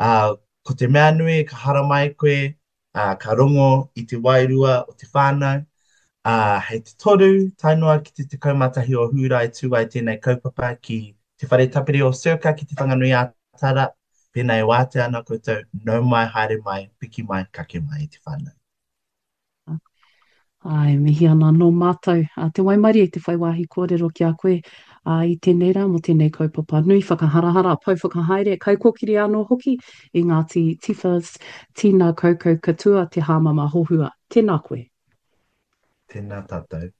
Ā, ko te mea nui ka haramai koe, ā, ka rongo i te wairua o te whānau, ā, hei te toru tae noa ki te tekau mā tahi o Hūrae tū ai tēnei kaupapa ki Te Whare Tapere o Circa ki Te Whanganui-ā-Tara, pēnā e wātea ana koutou, nau mai, haere mai, piki mai, kake mai i te whānau. Āe, mihi ana anō mātou a te waimarie te whai wāhi kōrero ki a koe ā, i tēnei rā mō tēnei kaupapa nui whakaharahara, pou whakahaere, kaikōkiri anō hoki i Ngāti Tiwhas, Tīna Kaukau Katua, Te Hāmama Hohua. Tēnā koe. Tēnā tātou.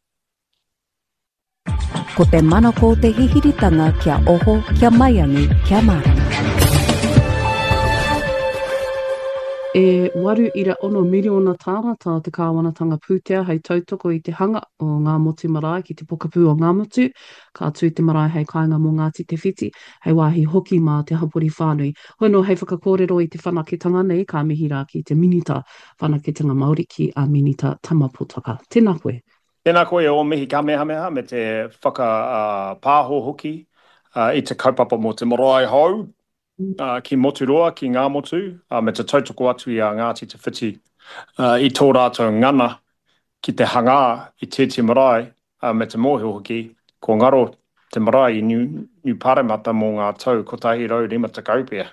Ko te manako te hihiritanga kia oho, kia maiangi, kia mārama. E waru ira ono miriona tāra tā te kāwanatanga pūtea hei tautoko i te hanga o Ngāmotu Marae ki te pokapū o Ngāmotu. Ka tū te marae hei kāinga mō Ngāti Te Whiti, hei wāhi hoki mā te hapori whānui. Hoi anō hei whakakōrero i te whanaketanga nei ka mihi rā ki te Minita Whanaketanga Māori ki a Minita Tama Potaka. Tēnā koe. Tēnā koe e ō mihi kamehameha me te whakapāho hoki i te kaupapa mō te marae hou ki Moturoa, ki Ngāmotu, me te tautoko atu i a Ngāti Te Whiti i tō rātou ngana ki te hangā i tēti marae me te mōhio hoki kua ngaro te marae i Niu Paremata mō ngā tau kotahi rau rima tekau pea.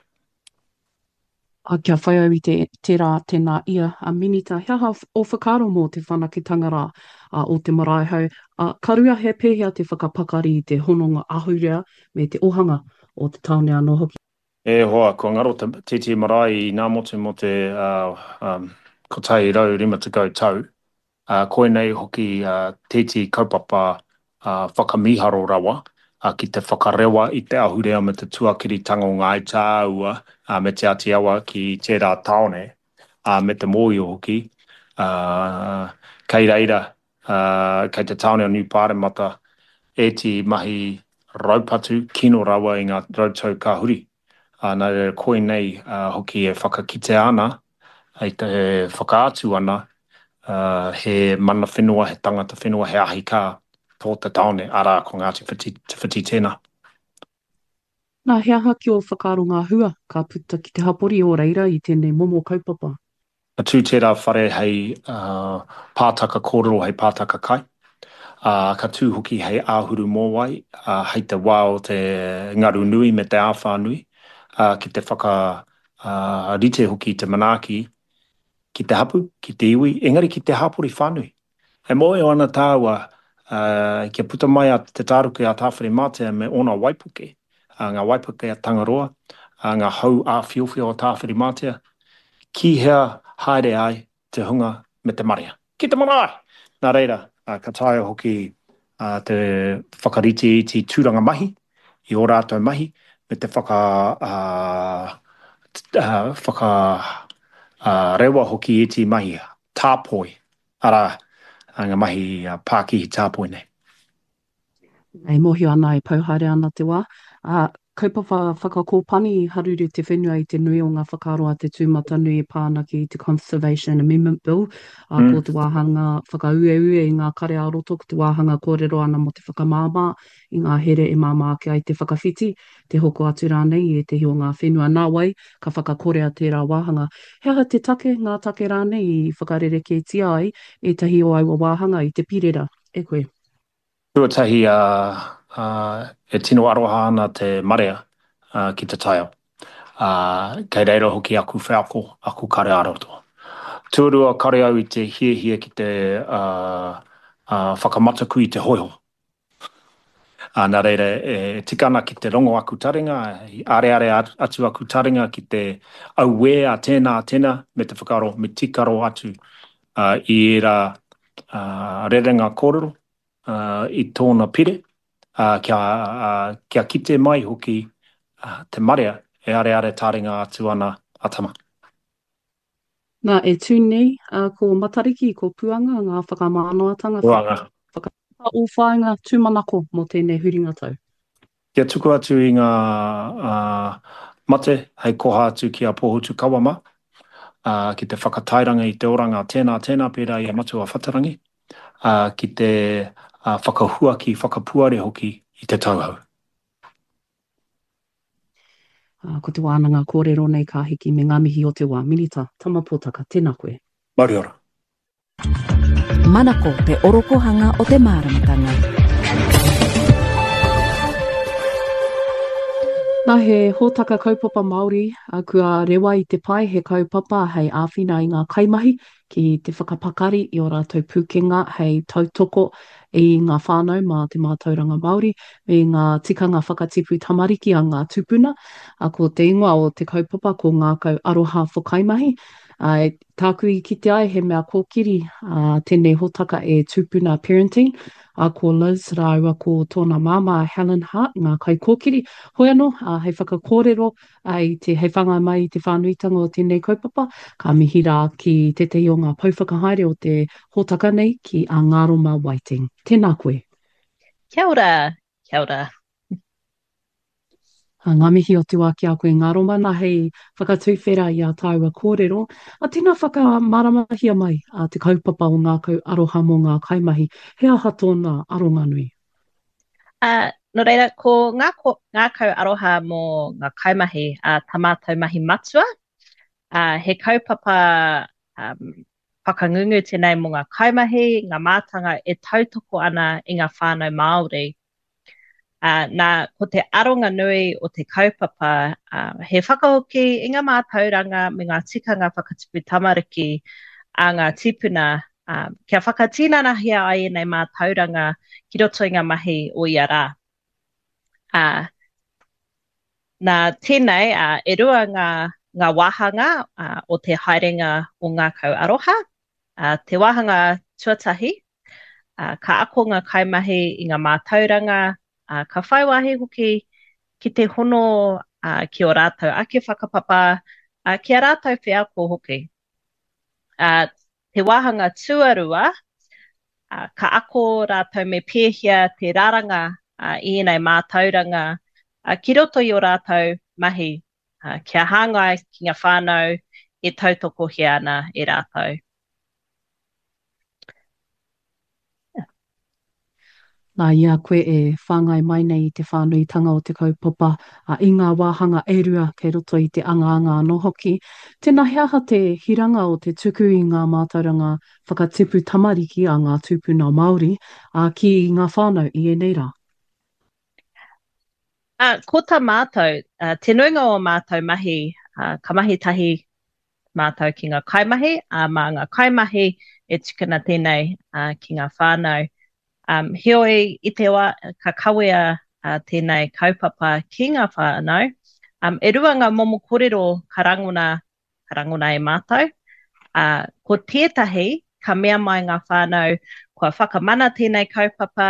Ā, kia whai au i te, tērā, tēnā ia, a Minita, he aha ō whakaaro mō te whanaketanga rā, ā, o te marae hou, ā, ka rua he pēhea te whakapakari i te hononga ahurea me te ohanga o te tāone anō hoki? E hoa, kua ngaro te tītī marae i Ngāmotu mō te, ā, ā, kotahi rau rima tekau tau, ā, koinei hoki tēti kaupapa whakamīharo rawa, ki te whakarewa i te ahurea me te tuakiritanga o Ngāi Tāua me Te Āti Awa ki tērā tāone, me te mōhio hoki, kei reira, kei te tāone o Niu Pāremata ētehi mahi raupatu kino rawa i ngā rautau ka huri. Nā reira, koinei hoki e whakakitea ana, e whakaatu ana he mana whenua, he tangata whenua, he ahi kā tō te tāone, arā, ko Ngāti Te Whiti tēnā. Nā, he aha ki ō whakaaro ngā hua ka puta ki te hapori o reira i tēnei momo kaupapa? Ka tū tērā whare hei pātaka kōrero, hei pātaka kai, ā, ka tū hoki hei āhuru mōwai hei te wā o te ngaru nui me te āwhā nui, ā, ki te whakarite hoki i te manaaki ki te hapū, ki te iwi, engari ki te hapori whānui. E mōhio ana tāua, kia puta mai a Te Tāruke a Tāwhirimātea me ōna waipuke, ngā waipuke a Tangaroa, ngā hau āwhiowhio o Tāwhirimātea, ki hea haere ai te hunga me te marea? Ki te marae! Nā reira, ka taea hoki te whakariteiti tūranga mahi i ō rātou mahi me te whakarewa hoki i ētehi mahi tāpoi, arā, ngā mahi pākihi tāpoi nei. E mōhio ana, e pau haere ana te wā. Ā, kaupapa whakakōpani i haruru te whenua i te nui o ngā whakaaro a te tūmatanui e pā ana ki te Conservation Amendment Bill, ā, ko te wāhanga whakaueue i ngā kare ā-roto, ko te wāhanga kōrero ana mō te whakamāmā i ngā here e māmā ake ai te whakawhiti, te hoko atu rānei i ētehi o ngā whenua. Nāwai, ka whakakorea tērā wāhanga. He aha te take, ngā take rānei i whakarerekētia ai ētahi o aua wāhanga i te pirera e koe? Tuatahi, e tino aroha ana te marea ki te taiao. Kei reira hoki aku wheako, aku kare ā-roto. Tuarua, kare au i te hiahia ki te whakamataku i te hōiho. Nā reira, e tika ana ki te rongo aku taringa, i areare atu aku taringa ki te auē a tēnā, a tēnā, me te whakaaro, me tīkaro atu i ērā rerenga kōrero i tōna pire, kia, kia kite mai hoki te marea e areare taringa atu ana a Tama. Nā, e tū nei ko Matariki, ko Puanga ngā whakamānawatanga Puanga. Whakapapa ō whāinga tūmanako mō tēnei huringa tau. Kia tuku atu i ngā mate hei koha atu ki a Pōhutukawa mā, ki te whakatairanga i te oranga tēnā, tēnā pērā i a Matua Whatarangi, ā, ki te whakahuaki, whakapuare hoki i te tauhou. Ā, ko te wānanga kōrero nei ka hiki me ngā mihi o te wā. Minita Tama Potaka, tēnā koe. Mauri ora. Manako te orokohanga o te māramatanga. Nā, he hōtaka kaupapa Māori kua rewa i te pae, he kaupapa hei āwhina i ngā kaimahi ki te whakapakari i ō rātou pūkenga hei tautoko i ngā whānau mā te mātauranga Māori me ngā tikanga whakatipu tamariki a ngā tūpuna. Ko te ingoa o te kaupapa ko Ngākau Aroha for Kaimahi. Ā, tāku i kite ai he mea kōkiri tēnei hōtaka e Tūpuna Parenting, ā, ko Liz rāua ko tōna māmā Helen Hart ngā kaikōkiri. Hoi anō, hei whakakōrero Ā, i te, hei whāngai mai i te whānuitanga o tēnei kaupapa, ka mihi rā ki tētahi o ngā pou whakahaere o te hōtaka nei, ki a Ngaroma Whiting. Tēnā koe. Kia ora, kia ora. Ā, ngā mihi o te wā ki a koe Ngaroma, nā hei whakatuwhera i ā tāua kōrero. Ā, tēnā whakamāramahia mai a te kaupapa o Ngākau Aroha mō ngā kaimahi, he aha tōna aronga nui? Ā, nō reira, ko ngā ko, ngākau aroha mō ngā kaimahi, ā, tā mātou mahi matua, ā, he kaupapa um, whakangungu tēnei mō ngā kaimahi, ngā mātanga e tautoko ana i ngā whānau Māori. Ā, nā, ko te aronga nui o te kaupapa, ā, he whakahoki i ngā mātauranga me ngā tikanga whakatipu tamariki a ngā tīpuna ā, kia whakatinanahia ai ēnei mātauranga ki roto i ngā mahi o ia rā. Ā, nā tēnei, ā, e rua ngā, ngā wāhanga ā, o te haerenga o Ngākau Aroha. Ā, te wāhanga tuatahi, ā, ka ako ngā kaimahi i ngā mātauranga, ā, ka whai wāhi hoki ki te hono ā, ki ō rātou ake whakapapa, ā, ki ā rātou wheako hoki. Ā, te wāhanga tuarua, ā, ka ako rātou me pēhea te raranga ā, i ēnei mātauranga ā, ki roto i ō rātou mahi, ā, kia hāngai ki ngā whānau e tautokohia ana e rātou. Nā, i a koe e whāngai mai nei i te whānuitanga o te kaupapa, ā, i ngā wāhanga e rua kei roto i te angaanga anō hoki, tēnā he aha te hiranga o te tuku i ngā mātauranga whakatipu tamariki a ngā tūpuna Māori, ā, ki ngā whānau i ēnei rā? Ā, ko tā mātou, ā, te nuinga o ā mātou mahi, ā, ka mahi tahi mātou ki ngā kaimahi, ā, mā ngā kaimahi e tukuna tēnei ā, ki ngā whānau. Um, heoi, i te wā ka kawea ā, tēnei kaupapa ki ngā whānau, um, e rua ngā momo kōrero ka rangona, ka rangona e mātou. Ā, ko tētahi, ka mea mai ngā whānau, kua whakamana tēnei kaupapa,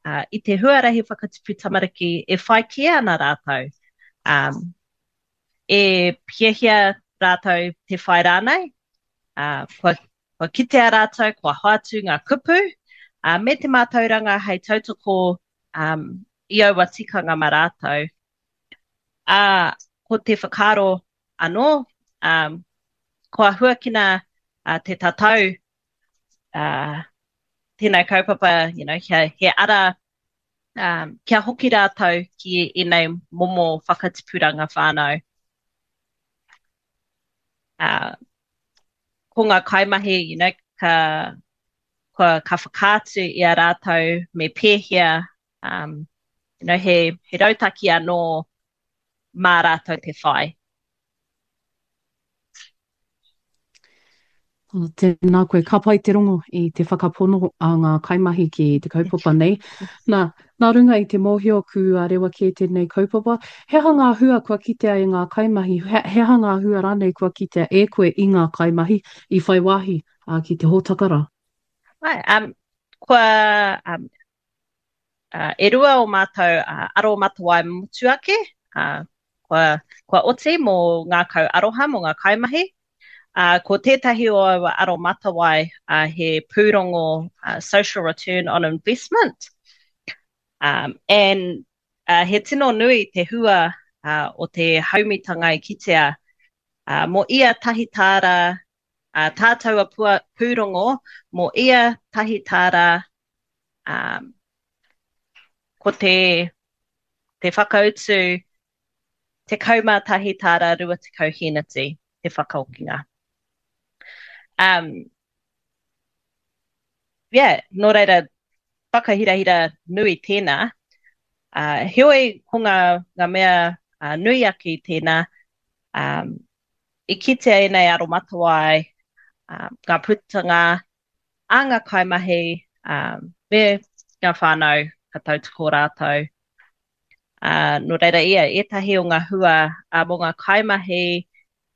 ā, i te huarahi whakatipu tamariki e whai kē ana rātou. Um, e hiahia rātou te whai rānei, ā, kua, kua kitea rātou, kua hoatu ngā kupu, ā, me te mātauranga hei tautoko um, i aua tikanga mā rātou. Ā, ko te whakaaro anō, um, kua huakina uh, te tatau uh, tēnei kaupapa, you know, he, he ara um, kia hoki rātou ki ēnei momo whakatipuranga whānau. Uh, ko ngā kaimahi, you know, ka, ka, ka whakaatu i a rātou me pēhea, um, you know, he, he rautaki anō mā rātou te whai. Oh, tēnā koe, ka pai te rongo i te whakapono a ngā kaimahi ki te kaupapa nei. Nā, nā runga i te mōhio kua rewa kē tēnei kaupapa, he aha ngā hua kua kitea e ngā kaimahi, he, he aha ngā hua rānei kua kitea e koe i ngā kaimahi i whai wāhi uh, ki te hōtaka rā? Ai, um, kua, um, uh, e rua o mātou uh, aromatawai motuake, uh, kua, kua oti mō ngākau aroha, mō ngā kaimahi. Uh, ko tētahi o aua aromatawai uh, he pūrongo uh, social return on investment. Um, and uh, he tino nui te hua uh, o te haumitanga i kitea uh, mō ia tahi tāra, uh, tā taua pua, pūrongo mō ia tahi tāra um, ko te, te whakautu tekau mā tahi tāra rua tekau hēneti te whakaokinga. Um, yeah, nō reira, whakahirahira nui tēnā. Uh, heoi, ko ngā, ngā mea uh, nui ake i tēnā, um, i kitea ēnei aromatawai, uh, ngā putanga a ngā kaimahi, um, me ngā whānau ka tautoko rātou. Uh, nō reira ia, ētahi o ngā hua uh, mō ngā kaimahi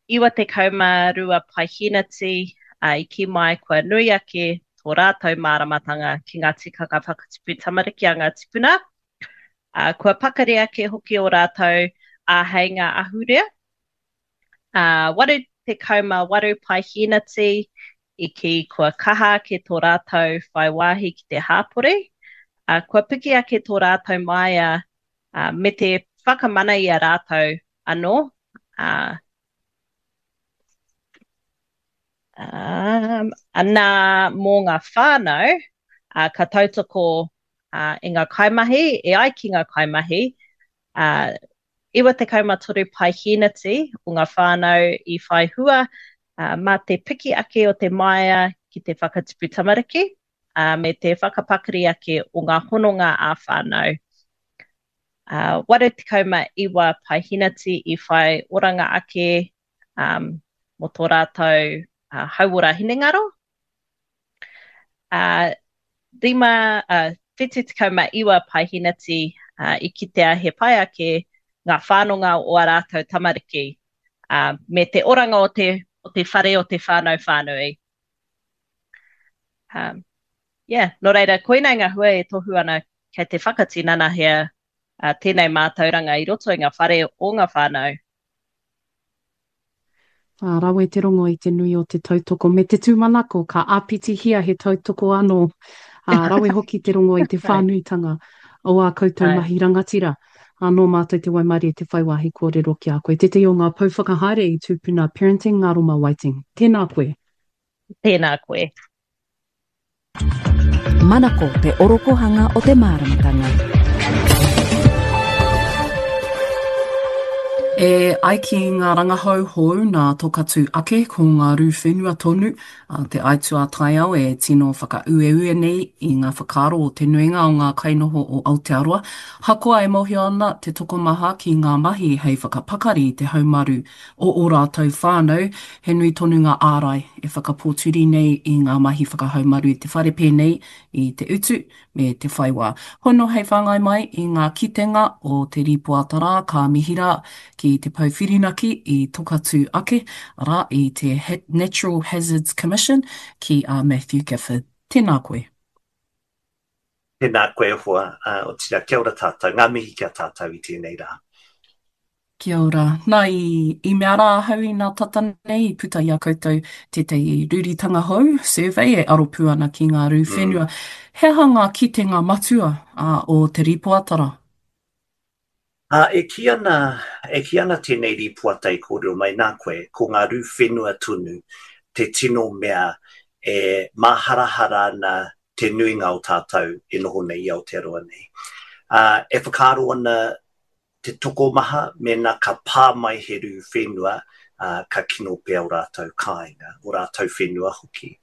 iwa tekau mā rua paeheneti uh, i kī mai kua nui ake tō rātou māramatanga ki ngā tikanga whakatipu tamariki a ngā tipuna. Uh, kua pakari ake hoki o rātou āheinga ahurea. Uh, waru tekau mā waru paeheneti i kī kua kaha ake tō rātou whai wāhi ki te hāpori, uh, kua piki ake tō rātou māia uh, me te whakamana i a rātou anō. Uh, um, nā mō ngā whānau, uh, ka tautoko uh, i ngā kaimahi, e ai ki ngā kaimahi, uh, iwa tekau mā toru paeheneti o ngā whānau i whai hua uh, mā te piki ake o te māia ki te whakatipu tamariki, uh, me te whakapakari ake o ngā hononga ā-whānau. Uh, waru tekau mā iwa paeheneti i whai oranga ake um, mō tō rātou uh, hauora hinengaro. Uh, rima, uh, whitu tekau mā iwa paeheneti uh, i kitea he pai ake ngā whanonga o ā rātou tamariki, uh, me te oranga o te, o te whare o te whānau whānui. Um, yeah, nō reira, koinei ngā hua e tohu ana kei te whakatinanahia uh, tēnei mātauranga i roto i ngā whare o ngā whānau. Ā, rawe te rongo i te nui o te tautoko me te tūmanako ka āpitihia he tautoko anō. Ā, rawe hoki te rongo i te whānuitanga o ā koutou mahi rangatira. Ā, nō mātou te waimarie te whai wāhi kōrero ki a koe, tētahi o ngā pou whakahaere i Tūpuna Parenting, Ngaroma Whiting. Tēnā koe. Tēnā koe. Manako te orokohanga o te māramatanga. E ai ki ngā rangahau hou nā Tokatū ake, ko ngā rū whenua tonu a te aituā taiao e tino whakaueue nei i ngā whakaaro o te nuinga o ngā kainoho o Aotearoa. Hakoa e mōhio ana te tokomaha ki ngā mahi hei whakapakari i te haumaru o ō rātou whānau, he nui tonu ngā ārai e whakapōturi nei i ngā mahi whakahaumaru i te whare pēnei i te utu me te whai wā. Hono hei whāngai mai i ngā kitenga o te rīpoata rā ka mihi rā ki te pou whirinaki i Tokatū ake, arā, i te Natural Hazards Commission ki a Matthew Gifford. Tēnā koe. Tēnā koe e hoa, otirā kia ora tātou, ngā mihi ki a tātou i tēnei rā. Kia ora. Nā, i, i mea rā ahau i nā tata nei i puta i a koutou tētahi ruritanga hou, survey, e aro pū ana ki ngā rū whenua. Mm. He aha ngā kitenga matua uh, o te rīpoata rā? Ā, e kī ana, e kī ana tēnei rīpoata i kōrero mai nā koe, ko ngā rū whenua tonu te tino mea e māharahara ana te nuinga o tātou e noho nei i Aotearoa nei. Ā, e whakaaro ana te tokomaha mēnā ka pā mai he rū whenua, ā, ka kino pea ō rātou kāinga, ō rātou whenua hoki.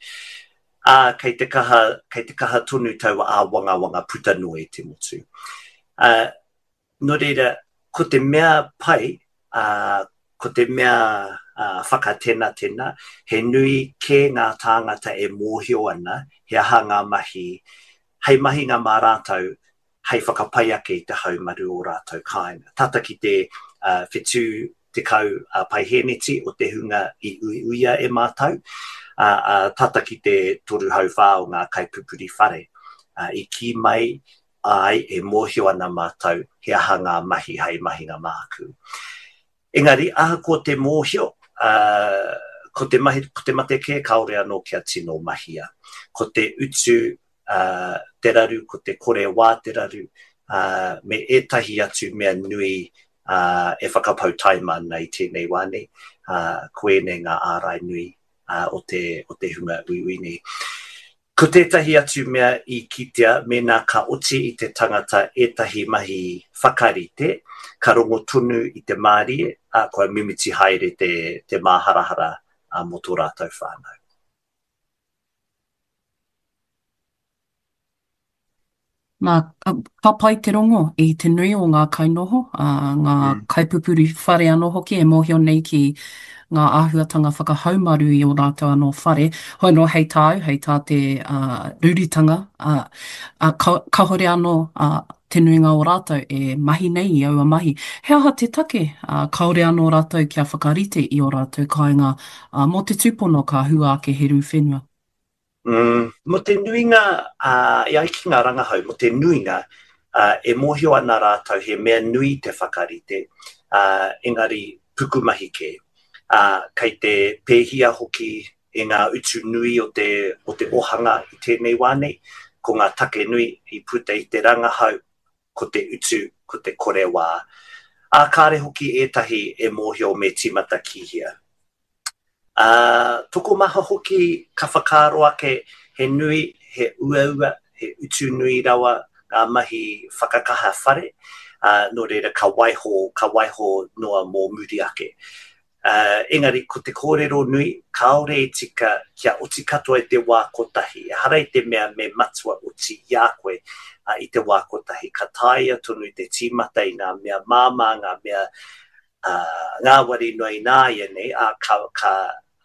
Ā, kei te kaha, kei te kaha tonu taua āwangawanga puta noa i te motu. Ā, nō reira, ko te mea pai, ā, ko te mea whakatenatena, he nui kē ngā tāngata e mōhio ana he aha ngā mahi hei mahinga mā rātou hei whakapai ake i te haumaru o rātou kāinga. Tata ki te whetū tekau paihēneti o te hunga i uiuia e mātou, ā, tata ki te toru hauwhā o ngā kaipupuri whare i kī mai āe e mōhio ana mātou he aha ngā mahi hei mahinga māku. Engari, ahakoa te mōhio, ā, ko te mahi, ko te mate kē kāore anō kia tino mahia. Ko te utu, ā, te raru, ko te kore wā te raru, ā, me ētahi atu mea nui, ā, e whakapau taima ana i tēnei wā nei, ā, ko ēnei ngā ārai nui, ā, o te, o te hunga uiui nei. Ko tētahi atu mea i kitea, mēnā ka oti i te tangata ētahi mahi whakarite, ka rongo tonu i te mārie, ā, kua mimiti haere te, te māharahara mō tō rātou whānau. Nā, ka pai te rongo i te nui o ngā kainoho, ā, ngā mm. kaipupuri whare anō hoki e mōhio nei ki ngā āhuatanga whakahaumaru i ō rātou anō whare. Hoi anō hei tāu, hei tā te uh, ruritanga, uh, uh, ka, kahore anō uh, te nuinga o rātou e mahi nei i aua mahi. He aha te take, uh, kāore anō rātou kia whakarite i ō rātou kāinga uh, mō te tūpono ka hua ake he rū whenua? Mm, mō te nuinga, ā, e ai ki ngā rangahau, mō te nuinga, ā, e mōhio ana rātou he mea nui te whakarite, ā, engari pukumahi kē. Ā, kei te pēhia hoki e ngā utu nui o te, o te ohanga i tēnei wā nei, ko ngā take nui i puta i te rangahau, ko te utu, ko te kore wā. Ā, kāre hoki ētahi e mōhio me tīmata ki hea. Ā, tokomaha hoki ka whakaaro ake he nui, he uaua, he utu nui rawa ngā mahi whakakaha whare, ā, nō reira ka waiho, ka waiho noa mō muri ake. Ā, engari ko te kōrero nui, kāore e tika kia oti katoa i te wā kotahi. Ehara i te mea me matua oti i a koe i te wā kotahi. Ka taea tonu te tīmata i ngā mea māmā, ngā mea ā, ngāwari noa ināianei, ā, ka, ka,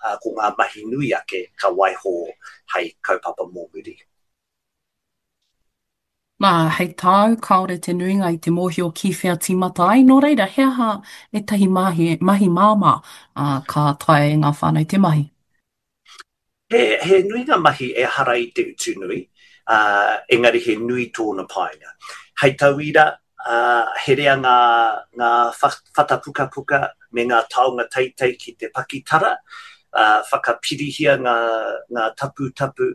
ā, ko ngā mahi nui ake ka waiho hei kaupapa mō muri. Nā, hei tāu, kāore te nuinga i te mōhio ki whea tīmata ai, nō reira, he aha ētahi mahi, mahi māmā, ā, ka taea e ngā whānau te mahi? He, he nui ngā mahi ehara i te utu nui, ā, engari he nui tōna painga. Hei tauira, ā, herea ngā, ngā whata pukapuka me ngā taonga teitei ki te pakitara, ā, whakapirihia ngā, ngā taputapu